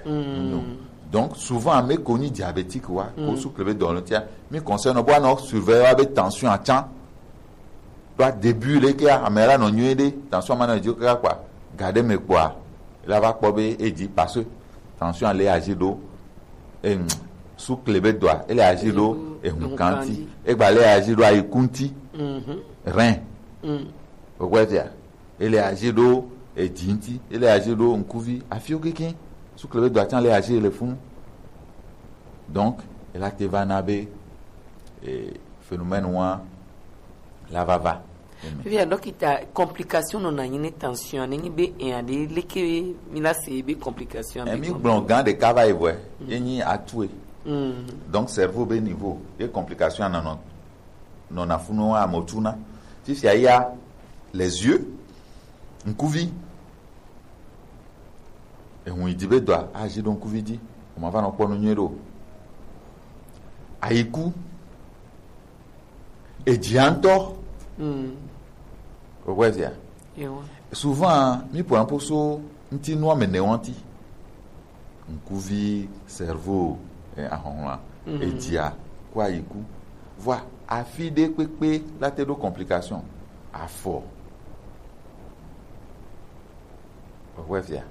Donc souvent ame ko nyi diabétique wa, ko sukle be dɔ tia. Mi conseil no bo no surveiller wa be tension atsa. Toi début le ke ame la no nyi de, tension ma no di ka kwa. Garder me kwa. La va kpɔ be e di parce que tension le agir do. Em, sukle be doa, ele agir do ehun kanti. Egba le agir do ayikunti. Rein. Okpɔ via. Ele agir do edi nti, ele agir do ŋkuvi, afio keke. Sukle be doa tsa le agir le funu. Donc, ela te va na be eh, phénomène wa la va va. Via dokita, complication no na nyi ne tension ne nyi be en ade leke mi la se be complication. Emi gblɔ gan de kava evwe, ye nyi atue. Donc cerveau be niveau, ye complication na no no na funu wa motuna. Fifia ya les yeux, ŋkuvi. Ehun yi di be doa, agir do ŋkuvi di. O ma va no kpɔ nu nyuie do. Ayiku. Ejia ŋutɔ. Okpɔ via. Souvent mi po un peu so ŋti nua me ne wanti. Ŋkuvi, cerveau, eh, ahɔnhla, ejia, ko ayiku. Vɔa afi de kpekpe la te do complication. Afɔ. Okpɔ via.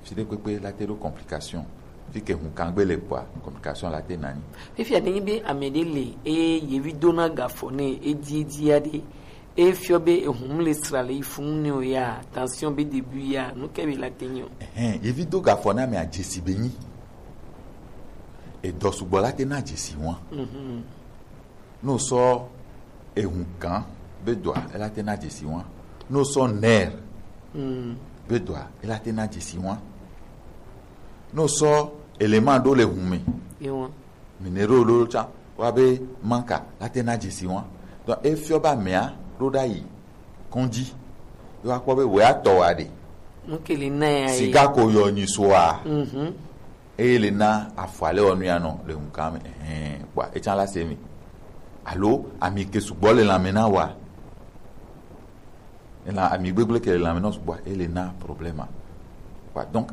Fi de kpekpe la te do complication. Fi ke hun kangbe le kpɔa, complication la te nani. Fifia ne nyi be ame de le, e yevi dona gafɔ ne, e di, e di ya de. E fiɔ be ehun le sra le yi funu ne o ya, tension be début ya, nu ke be la te nyi o. Ehɛn, yevi do gafɔ na me ajesi be nyi. Edɔ sugbɔ la te na ajesi wa. No sɔ ehun kan be doa, ela te na ajesi wa. No sɔ nerf be doa, ela te na ajesi wa. No sɔ élément do le hun me. Minero lolo tsa wa be manka la te na jesi wa. Donc e fiɔ ba mea do da yi kɔndzi. Yo akpɔ be wea tɔ wa de. Nukele na ya ye. Siga ko yɔ nyi so wa. Eye le na afɔ ale wɔ nu ya nɔ le nkan me. Ehɛn, kpɔ etsa la se mi. Alo ami ke sugbɔ le lanmɛ na wa. Ela ami gbegble ke le lanmɛ na sugbɔ ele na problème. Kpɔ donc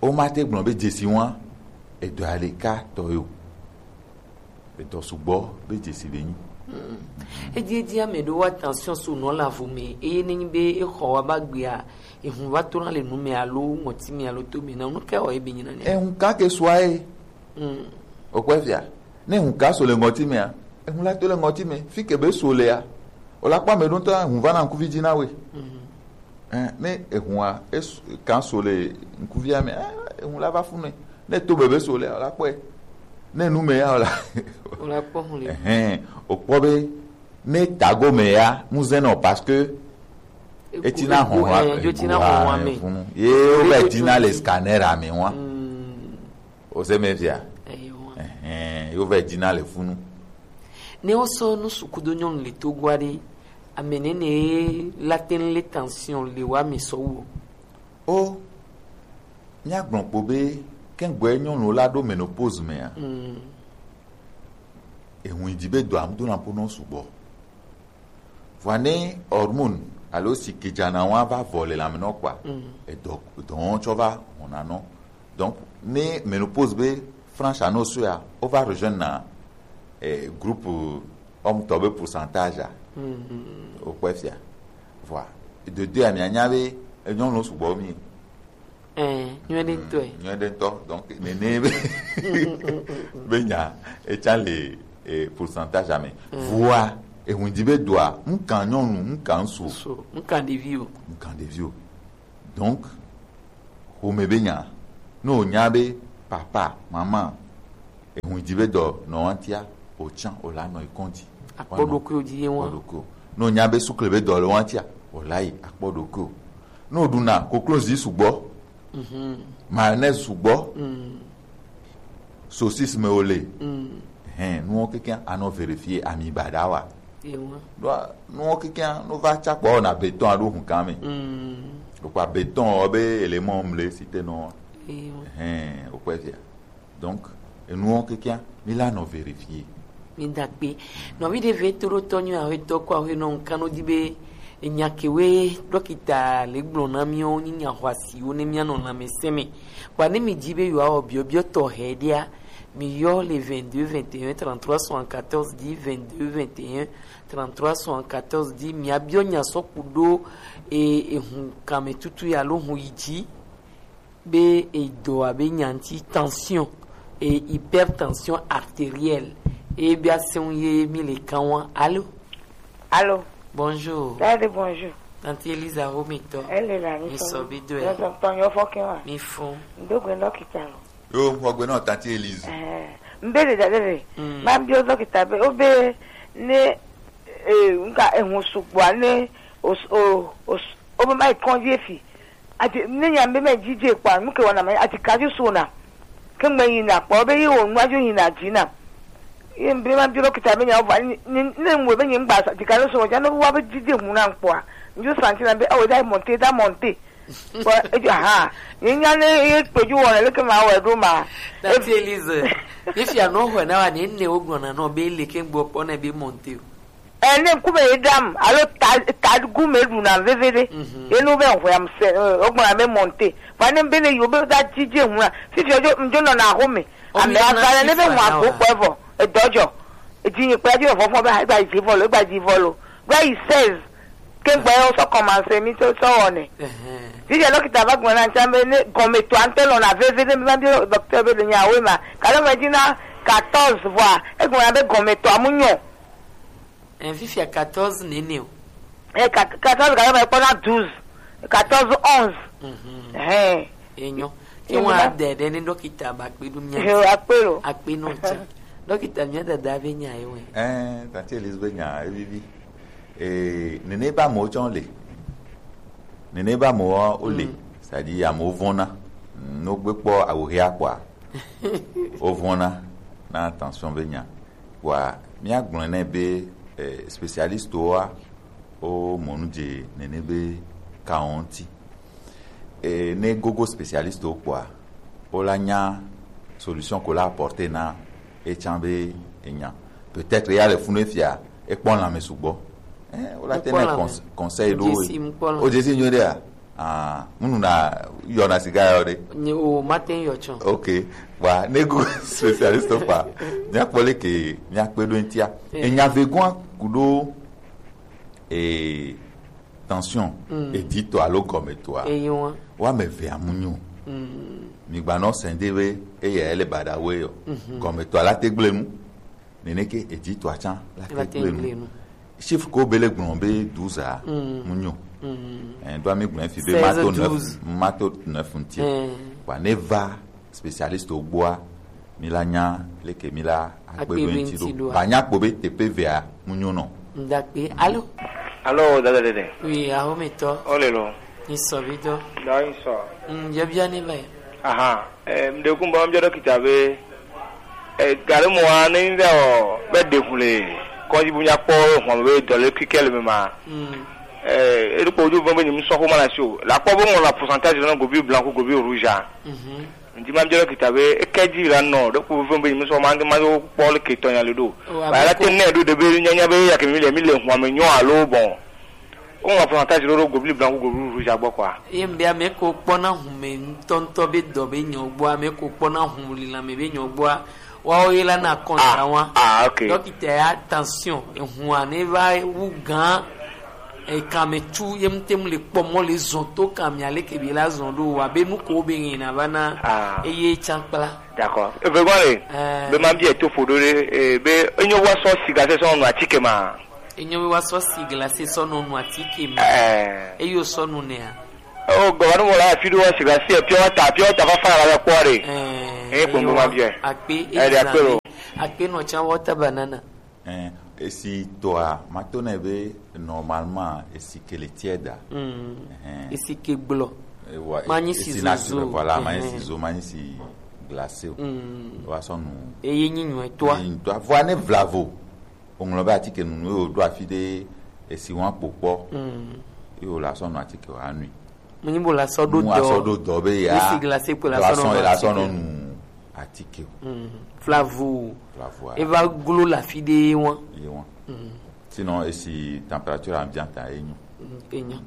o ma te gblɔ be jesi wa edɔ ale ka tɔ yo. Etɔ sugbɔ be jesi be nyi. Edi edi ame ɖo wa tension so nɔ la vo me eye ne nyi be exɔ wa ba gbea ehun va to na le nu me alo ŋɔti me alo to me na nu ke wɔ ebe nyi na ne. Ehun ka ke sua ye. Okpɔ fia ne ehun ka so le ŋɔti me a ehun la to le ŋɔti me fi ke be so le a o la kpɔ ame ɖo ŋutɔ ehun va na ŋkuvi dzi na we. Ɛn, ne ehun a esu kan so le ŋkuvia me a ehun la va fu ne. Ne to bebe so le a o la kpɔe. Ne nu me ya o la. O la kpɔ hun le. Ɛhɛn, o kpɔ be ne tago me ya mu zɛn nɔ parce que etina hɔn wa ego tina hɔn wa me funu ye o bɛ tina le scanner a me wa. O se me fia. Ɛhɛn, yo vɛ dina le funu. Ne o sɔ nu suku do nyɔnu le to gua de ame ne ne la ten le tension le wa mi sɔ wo. O nya gblɔ kpo be kɛngbɛ nyɔnu la ɖo menopause me a. Ehun di be do am do na po no sugbɔ. Vɔa ne hormone alo sikidjana wa va vɔ le lanmɛ nɔ kpɔa, edɔ dɔn tsɔ va hɔn na nɔ. Donc ne menopause be franche anɔ so ya o va rejoindre na eh, groupe homme tɔ be pourcentage a. O kpɛ fia. Vɔa de deux a mi anya be nyɔnu sugbɔ mi. Ɛɛ, nyuie ɖe ŋutɔ. Nyuie ɖe ŋutɔ. Donc nene be be nya etsa le eh, pourcentage ame. Vɔa ehun di be doa ŋkan nyɔnu ŋkan ŋsu. Ŋkan ɖevi o. Ŋkan ɖevi o. Donc xome be nya ne o nya be papa mama ehun di be dɔ nɔ wantia o tsan o la nɔ ikɔn di. Akpɔ ɖokuiwo dzi ye wɔn. Akpɔ ɖokuiwo. Ne o nya be sukle be dɔ le wantia o la yi akpɔ ɖokuiwo. Ne o ɖuna koklozi sugbɔ, mayonnaise sugbɔ, saucisse me o le, hɛn nuwo keke anɔ vérifier ami baɖa wa. Ɖo nuwo keke no va tsakpɔ na béton aɖo hun kan me. Ɖokpa béton ɔ be élément mle si te nɔ. Hɛn o kpɛ fia. Donc enuwo keke mi la nɔ vérifier. Mi da kpe nɔvi ɖe ve to ɖo tɔ nyɔ awe tɔ kɔ awe nɔ nkan no di be Enya kewe ɖɔkita le gblɔ na míawo nyi nya xɔasiwo ne míanɔ lãmesẽ me. Kpa ne mi di be yewoawɔ biɔbiɔ tɔxɛ ɖea, mi yɔ le vingt-deux vingt et un trente-trois soixante-quatorze dix, vingt-deux vingt et un trente-trois soixante-quatorze dix, miabiɔ nya sɔ ku ɖo e ehun kanmetutu ya alo hun yi dzi. Be edɔ abe nyanti tension et hypertension artérielle. E bia seun ye mi le kan wa. Allô? Allô? Bonjour. Daddy, bonjour. Tante Elisa Romitɔ. Elle est là, mi sɔ bi do ya. Nous sommes ton yo fokin wa. Mi fun. Ndo gbe no kitalo. Yo, mo gbe no Tante Elise. Eh, mbele da dede. Mm. Ma bi o dɔkita be, o be ne, eh, nka ehun sugbɔ ne o s- o o s- o be ma ikɔn je fi. Ati ne nya be ma jije kpa mu ke wana ma ati ka ju so na. Ke ngbe yi na kpa o be yi o nu aju yi na ji na. Ye mbe ma bi dɔkita be nya o va ni ni ni mu be nyi ngba sa ti ka lo so ja no wa be jije hu na kpa. Nju santi na be o da monte da monte. Bon, eju ha. Ni nya ne ye peju wona le ke ma wa do ma. Tante Elise, mi fia no ho na wa ni ne o gbɔna no be le ke ngbo kpɔ na be monte o. Ene kume edam alo ta ta gume duna vevede. Mhm. Enu be hwe am se o gbɔna me monte. Fa ne be ne yo be da jije hu na. Fi fi ojo njo no na ho me. Ame avale ne be hu akpo kpɔ evɔ. Edɔjɔ. Edzi nyi kpla dzi vɔ fɔ be ha gba dzi vɔ lo, gba dzi vɔ lo. Gba yi seize. Ke gba yo sɔ commencer mi sɔ sɔ wɔne. Ɛhɛn. Dzi dze dɔkita va gblɔ na ntsa be ne gɔme to ante lɔ na veve ne mi va bi dɔkita be de nya we ma. Kalo me dzi na quatorze vɔa, e gblɔ na be gɔme to amu nyɔ. Ɛn, fifia quatorze nene o. Eh, quat- quatorze gake mekpɔna douze, quatorze, onze. Mhm. Hɛn. Enyo. Ke ŋua dede ne dɔkita ba kpe ɖo mía ŋuti. Akpe lo. Akpe nɔ tsa. Dɔkita, mía dada be nya ye wɛ. Eh, Tante Elise be nya evivi. Eh, nene ba mo tsɔ le. Nene ba mo o le. Mm. C'est-à-dire amewo vɔna. No gbe kpɔ awo hea kpɔa. Wo vɔna na tension be nya. Kpɔa, míagblɔe nɛ be, eh, spécialiste wa wo mɔ nu dze nene be kawo ŋuti. Eh, ne gogo spécialiste wo kpɔa, wo la nya solution ko la apporter na etsã be enya. Peut-être ya le funu efia, ekpɔ lãme sugbɔ. Eh, wo la te ne cons- conseil ɖo. O dzesi nyuie ɖea? Ah, munu na yɔ na siga yɔ ɖe. Nye o, mate ŋu yɔ tsɔ. Ok. Wa ne go spécialiste kpa. Míakpɔ leke míakpe ɖo ŋutia. Eh. Enya vegoa ku ɖo, eh, tension, mm, editɔ alo gɔmetɔa. Eyi wa. Wa me ve amunyo. Mm. Mi gba nɔ sɛnde we, eye ele bada we yɔ. Mhm. Gɔmetɔa la te gble nu. Nene ke editɔa tsã la te gble nu. Chiffre ko be le gblɔ be douze a, mm, mu nyo. Mm. Eh, do ami gblɔ fi be mato neuf, mato neuf ŋuti. Mm. Wa ne va spécialiste wo gbɔa, mi la nya leke mi la akpe ɖo ŋuti ɖo. Ba nya kpɔ be teƒe vea mu nyo nɔ. Ndakpe. Allô? Allô, dada dede. Oui, ahometɔ. Ole lo. Ni sɔ bi dɔ. Da ni sɔ. Mm, yebia ni va. Aha. Eh, mɖe kun bɔ mbiɔ dɔkita be, eh, gari mɔ wa ne mi vɛ ɔ be ɖe kun le kɔdzi bu nya kpɔ hɔn be dɔ le kikɛ le me ma. Mm. Eh, eɖo kpɔ ojú vɔn be nyi musɔ xo ma na si o. La kpɔ be ŋɔ la pourcentage lɔ na gobi blanc ko gobi rouge a. Mhm. Ŋdi ma mbiɔ dɔkita be eke dzi la nɔ ɖe kpɔ vɔn be nyi musɔ ma ŋdi ma yo kpɔ le ketɔ nya le ɖo. Ba la te ne ɖo de be nyanya be ya ke mi le mi le hɔn me nyɔ alo bon. Woŋlɔ pourcentage ɖo ɖo gobli blanc ku gobli rouge gbɔ kɔa. Ye ŋbia mɛ ko kpɔna hume ŋutɔŋutɔ be dɔ be nyɔ gbɔa, mɛ ko kpɔna hum lila mɛ be nyɔ gbɔa, woawo ye la na kɔntra wa. Ah, ok. Dɔkita ya tension, ehua ne va wu gã, ekan me tu ye ŋute mu le kpɔ mɔ le zɔn to kan mi ale ke bi la zɔn ɖo wa be nu ko be ŋe na va na. Ah. Eye tsa kpla. D'accord. Eve gbɔ le. Eh. Be ma bia to fo ɖo ɖe, eh, be enyo wa sɔ siga se sɔ nɔ atike ma. Enyo be woasɔ si glase sɔ nɔ nu atike me. Ɛɛ. Eye wosɔ nu nɛa? O gɔvanu mo la fi ɖo wa si glase pure water, pure water fafa la kpɔ ɖe. Ɛɛ. Eye kpɔn bo ma biɛ. Akpe. Ɛɛ, de akpe lo. Akpe nɔ tsa water banana. Ɛɛ, esi tɔa, ma to nɛ be normalement esi ke le tiɛda. Mm. Ɛhɛn. Esi ke gblɔ. Ewa, ma nyi si esi naturel, zozo. Voilà, ma nyi si zo, ma nyi si glase o. Mm. Wa sɔ nu. Eye nyi nyuɛ tɔa. Eye nyi tɔa. Vɔa ne vlavo. Woŋlɔ be atike nunu ye woɖo afi ɖe esi wɔn akpo kpɔ. Mm. Ye wòle asɔ nɔ atike wòanui. Mu nyi bo le asɔ ɖo dɔ. Mu asɔ ɖo dɔ be ya. Esi glase kpo le asɔ nɔ nu atike o. Mm. Vlavo. Vlavo a. Eva glo le afi ɖe ye wɔn. Ye wɔn. Mm. Sinon esi température ambiante a ye nyo. Enyo.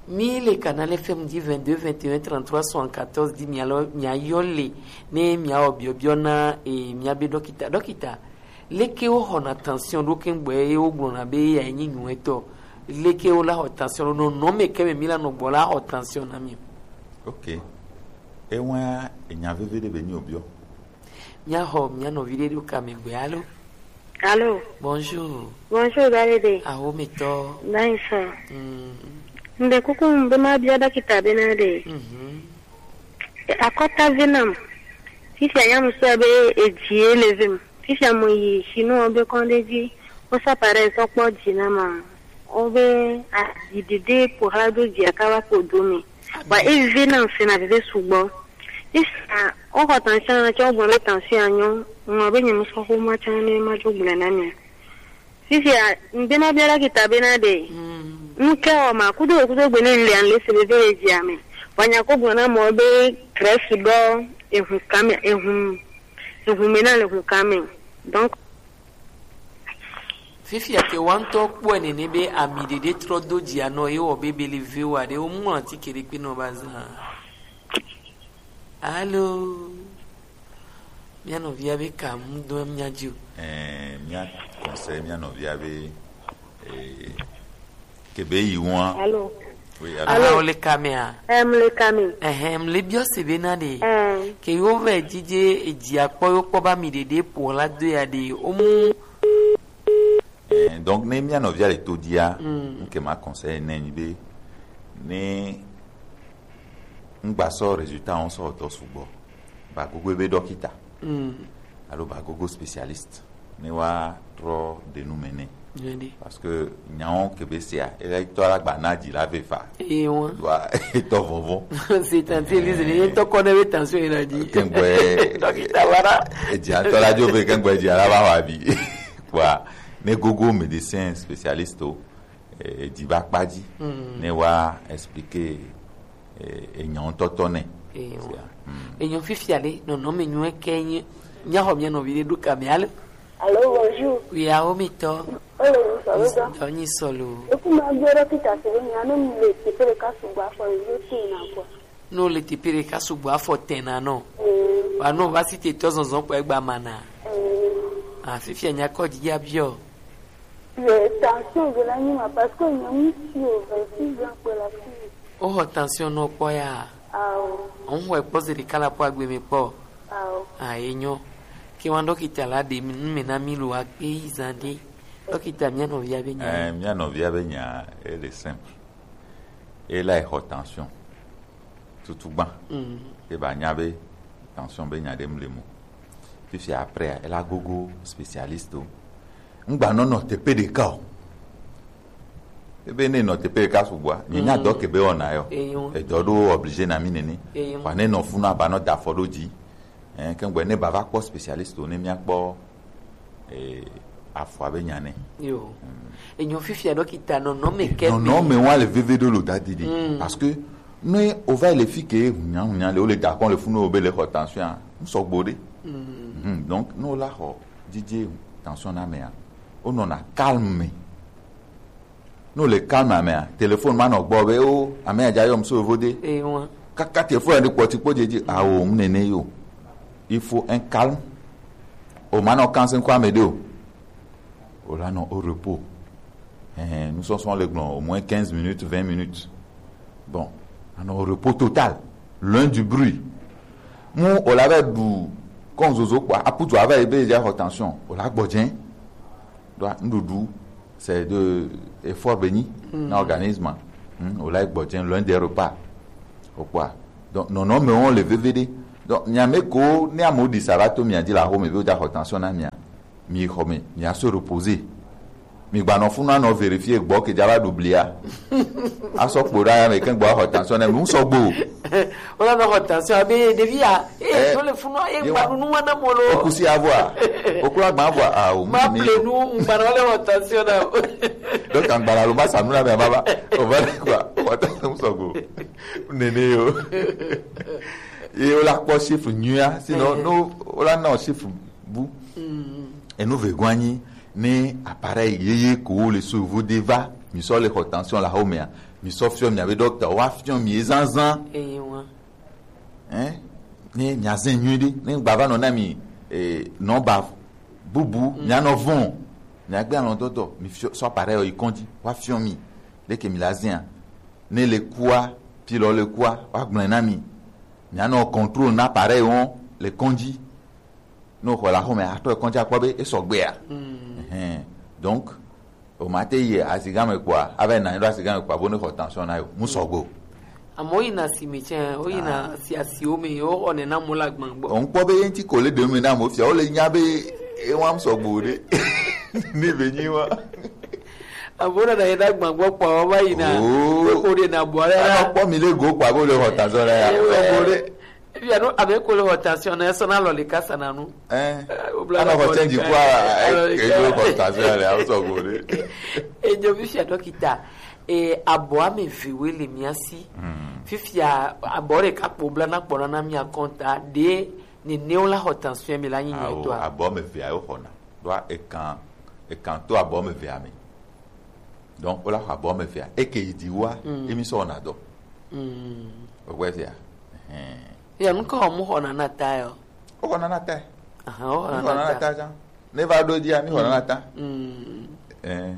Mi le Canal F M di vingt-deux vingt et un trente-trois soixante-quatorze di mia lɔ mia yɔ le ne mia wɔ biɔbiɔ na e mia be dɔkita. Dɔkita, leke wo xɔna tension ɖo kengbe ye wo gblɔna be ya nyi nyuetɔ? Leke wo la xɔ tension ɖo nɔnɔ me ke me mi la nɔ gbɔ la xɔ tension na mi? Ok. Ewa enya veve ɖe be nyi obiɔ. Mia xɔ mia nɔvi ɖe ɖo ka me gbe alo? Allô. Bonjour. Bonjour, Dadede. Awo mi tɔ. Nice. Mm. Mbe kuku mbe ma bia dɔkita be na de. Mhm. Akɔta venam. Fifia ya muso be e die le vem. Fifia mo yi sinu be konde di. O sa pare so kpɔ di na ma. O be a di dede po ha do di akawa po do mi. Ba e venam se na veve sugbɔ. Isa, o ko tension na cho bo le tension anyo. Mo be nyi muso ko ma chan ne ma jo gbla na mi. Fifia, n be ma bia dɔkita be na de. Mm. N ke o ma kudo kudo gbe ne n le an le se be be e di ame. Wa nya ko gbɔna mo be Grèce dɔ ehun kame ehun ehun me na le hun kame. Donc, fifia ke wa ŋutɔ kpɔe nene be ami ɖeɖe trɔ do dzi anɔ ye wɔ be bele ve wa ɖe wo mu anti ke ɖe kpe nɔ ba zã. Alo. Mia nɔvia be ka mu do mia dzi o. Eh, mia conseil mia nɔvia be, eh, ke be yi wan. Alo. Oui, alo. Alo. Alo, le kamea. Em, le kame. Ehem, le biɔ se be na de. Em. Ke yo ve didi e dzi akpɔ yo kpɔ ba mi ɖeɖe po la do ya de. O mu. Eh, donc, ne mia nɔvia le to dia, mm, nke ma conseil ne nyi be, ne ŋgba sɔ résultat ŋu sɔ dɔ sugbɔ, ba gogo ebe dɔkita. Mm. Alo ba gogo spécialiste. Ne wa trɔ de nu me ne. Nyuie ɖe. Parce que nyawo ke be sia, ele tɔ la gba na dzi la ve fa. Eye wa. Wa etɔ vɔvɔ. C'est tenté, Elise, ne tɔ kɔ ne be tension yi na dzi. Kengbe. Dɔkita wara. Edzi atɔ la dzo ve kengbe dzi la va wa bi. Kpɔa, ne gogo médecin spécialiste o, eh, edzi va kpa dzi, mm, ne wa expliquer, eh, enyawo tɔtɔ nɛ. Eyo. Sia, mm. Enyo fifia le, nɔnɔme nyuie ke nyi, mia xɔ mia nɔvi ɖe ɖo ka me ale. Allô, bonjour. Oui, awo mi tɔ. Hello, ça va? Dɔ nyi sɔlo. Eku ma bia dɔkita se be nya ne mu le teƒe ɖeka sugbɔ afɔ le yɔ tin na kɔ. No le teƒe ɖeka sugbɔ afɔ tɛna nɔ. Mm. Wa no va si te tɔ zɔzɔ kpɔ egba mana. Mm. Ah, fifia nya kɔ dzi ya biɔ. Le tension de la nyima parce que nye ŋutsu o vingt-six ans kpɔ la fi. O xɔ tension nɔ kpɔ ya. Awo. O xɔe kpɔ zi ɖeka la kpɔ agbe me kpɔ. Awo. Ah, enyo. Ke wa dɔkita la de mi, nu me na mi lo akpe yi zan de. Dɔkita mia nɔvia be nya. Eh, mia nɔvia be nya, ele simple. Ele xɔ tension. Tutu gbã. Mm. E ba nya be tension be nya ɖem le mo. Fifia après, ela gogo spécialiste o. Ŋgba nɔ nɔ teƒe ɖeka o. Ebe ne nɔ teƒe ɖeka sugbɔa, nye nya dɔ ke be wɔna yɔ. Eyo. Edɔ ɖo obligé na mi nene. Eyo. Wa ne nɔ funu aba nɔ da afɔ ɖo dzi. Eh, kengbe ne ba va kpɔ spécialiste o, ne mia kpɔ, eh, afɔa be nya ne. Yo. Mm. Enyo fifia dɔkita nɔnɔme ke. Nɔnɔme wa le veve ɖo lo da didi. Mm. Parce que ne o va le fi ke hunya hunya le, o le da kɔn le funu o be le xɔ tension a, n sɔgbo ɖe. Mm. Mhm. Donc, ne o la xɔ didi tension na mea, o nɔna calme. Ne o le calme amea, téléphone ma nɔ gbɔ be, o, amea dza yɔm so yovo de. Ewa. Kaka téléphone ɖe kpɔti kpɔ dzedzi, awo, ŋu nene yo. Il faut un calme. O ma nɔ kanse ŋkɔ ame ɖe o. O la nɔ au repos. Ɛhɛn, nusɔsɔ le gblɔ au moins quinze minutes, vingt minutes. Bon, anɔ au repos total. Loin du bruit. Mu o la va ɖu kɔn zozo kpɔ, aputu ava yi be dza xɔ tension. O la gbɔ dze. Ɖo nuɖuɖu c'est de effort benyi na organisme. Hmm, o la gbɔ dze loin des repas. O kpɔa. Donc nɔnɔme wɔn le veve ɖe. Donc nyame ko ne amewo ɖi sa va to mia dzi le axome be woda xɔ tension na mia. Mi xɔ me, mia se reposer. Mi gba nɔ funu anɔ vérifier gbɔ ke dza va ɖu blia. Asɔ kpo ɖa ya me ke gbɔ xɔ tension ne mi sɔgbo. Wala nɔ xɔ tension abe ɖevi ya. Eh, to le funu ye gba ɖu nu wana molo. Okusi avɔa. Okula gba avɔa. Ah, o ma mi. Ple nu ngba na le xɔ tension na. Donc angba la lo ma sanu na me baba. O va le quoi. O va tension sɔgbo. Nene yo. Ye o la kpɔ chiffre nyuia, sinon no o la na chiffre bu. Mm. Enu vegɔ anyi ne appareil yeye ko le so vo de va Mi sɔ le xɔ tension le axomea, mi sɔ fiɔ miabe dɔkita, woafiɔ mi ezazan. Eyin wa. Hein? Ne miazɛ nyuiɖe, ne gbava nɔ na mi, eh, nɔmba bubu, mianɔ vɔn, miagbe alɔdɔdɔ, mi fiɔ, sɔ appareil yi kɔndzi, woafiɔ mi leke mi la zɛa. Ne le kua, pilɔ le kua, woagblɔe na mi. Mianɔ contrôle na appareil wɔn le kɔndzi. Ne wòxɔ le axome, atrɔ yi kɔndzi akpɔ be esɔgbea. Ɛhɛn. Donc, o ma te yi aziga me kpɔa, ava yi na anyi ɖo aziga me kpɔa, bo ne xɔ tension na yo, mu sɔgbe o. Amewo yina asime tsɛ, woyina asi, asiwo me, woxɔnɛ na amewo le agban gbɔ. Ŋkpɔ be ye ŋuti ko le ɖe nu me na amewo fia, wole nya be ewa mu sɔgbe o ɖe. Ne be nyi wa. Amewo nana yi ɖe agban gbɔ kpɔa, wova yina. Oh. Kpekpe ɖe na bɔ ɖe la. Anɔ kpɔ mi le go kpɔa, be wole xɔ tension na ya. Ewa. Sɔgbe o ɖe. Fia no, abe ko le xɔ tension na, esɔ na lɔ le kasa na nu. Eh. Eh, wobla anɔ xɔ change kua, eh, eh, eh, xɔ tension le, awo sɔgbe ɖe. Enyo fifia dɔkita, eh, abɔ ame eve woe le mia si. Hmm. Fifia abɔ ɖeka kpo bla na kpɔna na mia kɔnta, ɖe nenewo la xɔ tension mi la nyi nyuitɔa? Awo, abɔ ame evea wo xɔna. Ɖoa ekan, ekan to abɔ ame evea me. Donc, wola xɔ abɔ ame evea. Eke yi dzi wa, mm, emi sɔ wɔna dɔ. Mm. Ogbɛ fia. Ɛhɛn. Ya, nu ka mu xɔna na ta yɔ? Wo xɔna na ta. Aha, wo xɔna na ta. Mi xɔna na ta jan. Ne va ɖo dzia, mi xɔna na ta. Mm. Eh.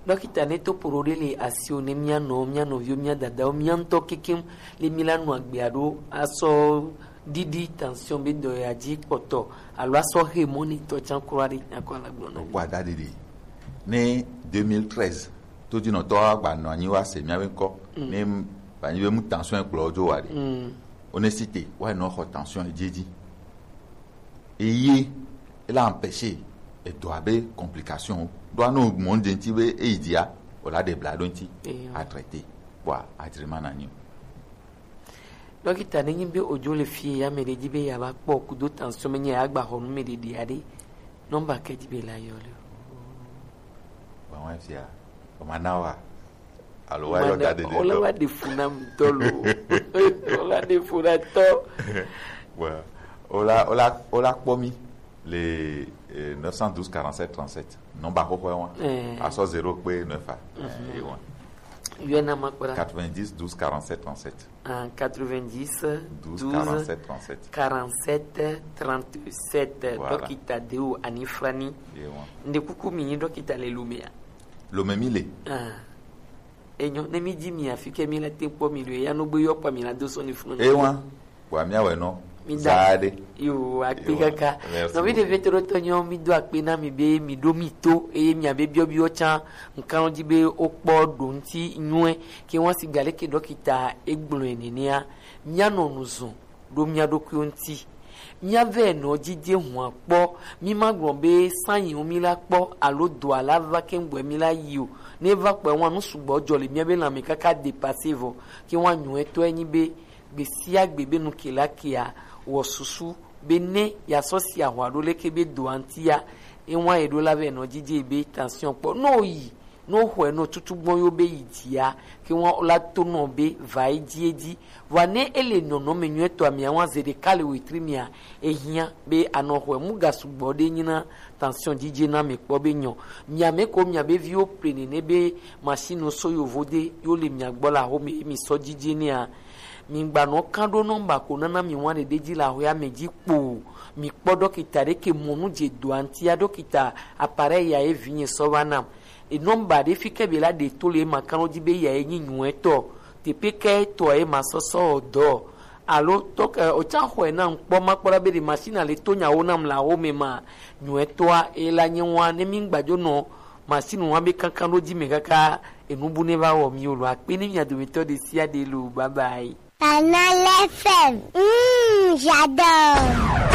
Dɔkita, ne to poro ɖe le asiwo ne mia nɔ, mia nɔviwo, mia dadawo, mia ŋutɔ kekem le mi la nu agbea ɖo asɔ ɖiɖi tension be dɔ ya dzi kpɔtɔ alo asɔ xe mɔ ne tɔ tsan kura ɖe akɔ ala gblɔ na mi. Kpɔ ada ɖiɖi. Ne deux mille treize, todinɔtɔwo agba nɔ anyi wa se mia be ŋkɔ. Mm. Ne m-, ba nyi be mu tension kplɔ dzo wa ɖe. Mm. Onesite, wa nɔ xɔ tension edzi edzi. Eye, ela empêcher edɔ abe complication. Ɖo anɔ mɔ ŋdze ŋti be eyi dzia, o la ɖe bla ɖo ŋti. Eyo. A traiter. Kpɔ a, a traitement na nyi. Dɔkita, ne nyi be odzo le fie ya, ame ɖe dzi be ya va kpɔ kudo tension me nye ya gba xɔ nu me ɖe ɖe aɖe. Nɔmba ke dzi be la yɔ le. Ba wa fia. O ma na wa. Alo wa yɔ da ɖe ɖe. O la wa ɖe fu na mi tɔ lo. O la ɖe fu na tɔ. Bon. O la, o la, o la kpɔ mi le, eh, neuf cent douze quarante-sept trente-sept. Nɔmba xoxo wa. Eh. Asɔ zéro kpe neuf a. Mhm. Eh, e wa. Yɔ na ma kpra. Quatre-vingt-dix douze quarante-sept trente-sept. En quatre-vingt-dix, douze, douze, quarante-sept, trente-sept. Quarante-sept, trente-sept. Voilà. Dɔkita Deo Anifrani. Ye wa. Nde kuku mi nyi dɔkita le Lomea? Lome mi le. Ah. Enyo, ne mi di mi afi ke mi la te kpɔ mi do, ya no gbe yɔ kpa mi la do sɔ ni funu. E wa. Wa mi awɛ nɔ. Mi da. Za de. Yo, akpe kaka. Merci. Nɔ mi de beaucoup. Veto do tɔ nyɔ, mi do akpe na mi be, mi do mi to, eye mi abe biɔ biɔ tsan, nkan di be o kpɔ do ŋti nyuɛ. Ke wan si gale ke dɔkita egblɔe nenea, mia nɔ nu zun ɖo mia ɖokuiwo ŋti. Mia vɛ nɔ dzidze hua kpɔ, mi ma gblɔ be sanyiwo mi la kpɔ, alo do ala va ke ŋgbɔe mi la yi o. Ne va kpɔe wan nu sugbɔ dzɔ le mia be lanme kaka dépasser vɔ, ke wan nyuɛtɔe nyi be, gbe sia gbe be nu ke la kea, wɔ susu be ne ya sɔ si ahwa ɖo leke be doa ŋtia, e wan e ɖo la vɛ nɔ dzidze be tension kpɔ. No yi, ne woxɔe nɔ tutu gbɔn yo be yi dzia, ke wan la to nɔ be va edzi edzi. Vɔa ne ele nɔnɔme nyuietɔa mea, wan ze ɖeka le wetri mea, ehiã be anɔ xɔe mu ga sugbɔ ɖe nyi na tension dzidze na mi kpɔ be nyɔ. Mia me ko mia be viwo ple nene be machine so yovo de yo le mia gbɔ la xome mi sɔ dzidze nea. Mi gba nɔ kan ɖo nɔmba ko nana mi wan ɖeɖe dzi le axɔea me dzi kpo. Mi kpɔ dɔkita ɖe ke mɔ nu dze doa ŋtia, dɔkita appareil ya ye vinye sɔ va nam. E nɔmba ɖe fi ke be la ɖe to le ma kan ɖo dzi be ya ye nyi nyuɛtɔ. Teƒe ke tɔ ye ma sɔsɔ dɔ. Alo tɔ ke o tsa xɔe nam kpɔ ma kpɔ ɖa be ɖe machine le to nyawo nam le axome ma nyuɛtɔa e la nye wan ne mi gbadzo nɔ machine wan be kankan ɖo dzi me kaka enu bu ne va wɔ mi o lo akpe ne mia dometɔ ɖe sia ɖe lo bye bye. Canal F M, mm, j'adore.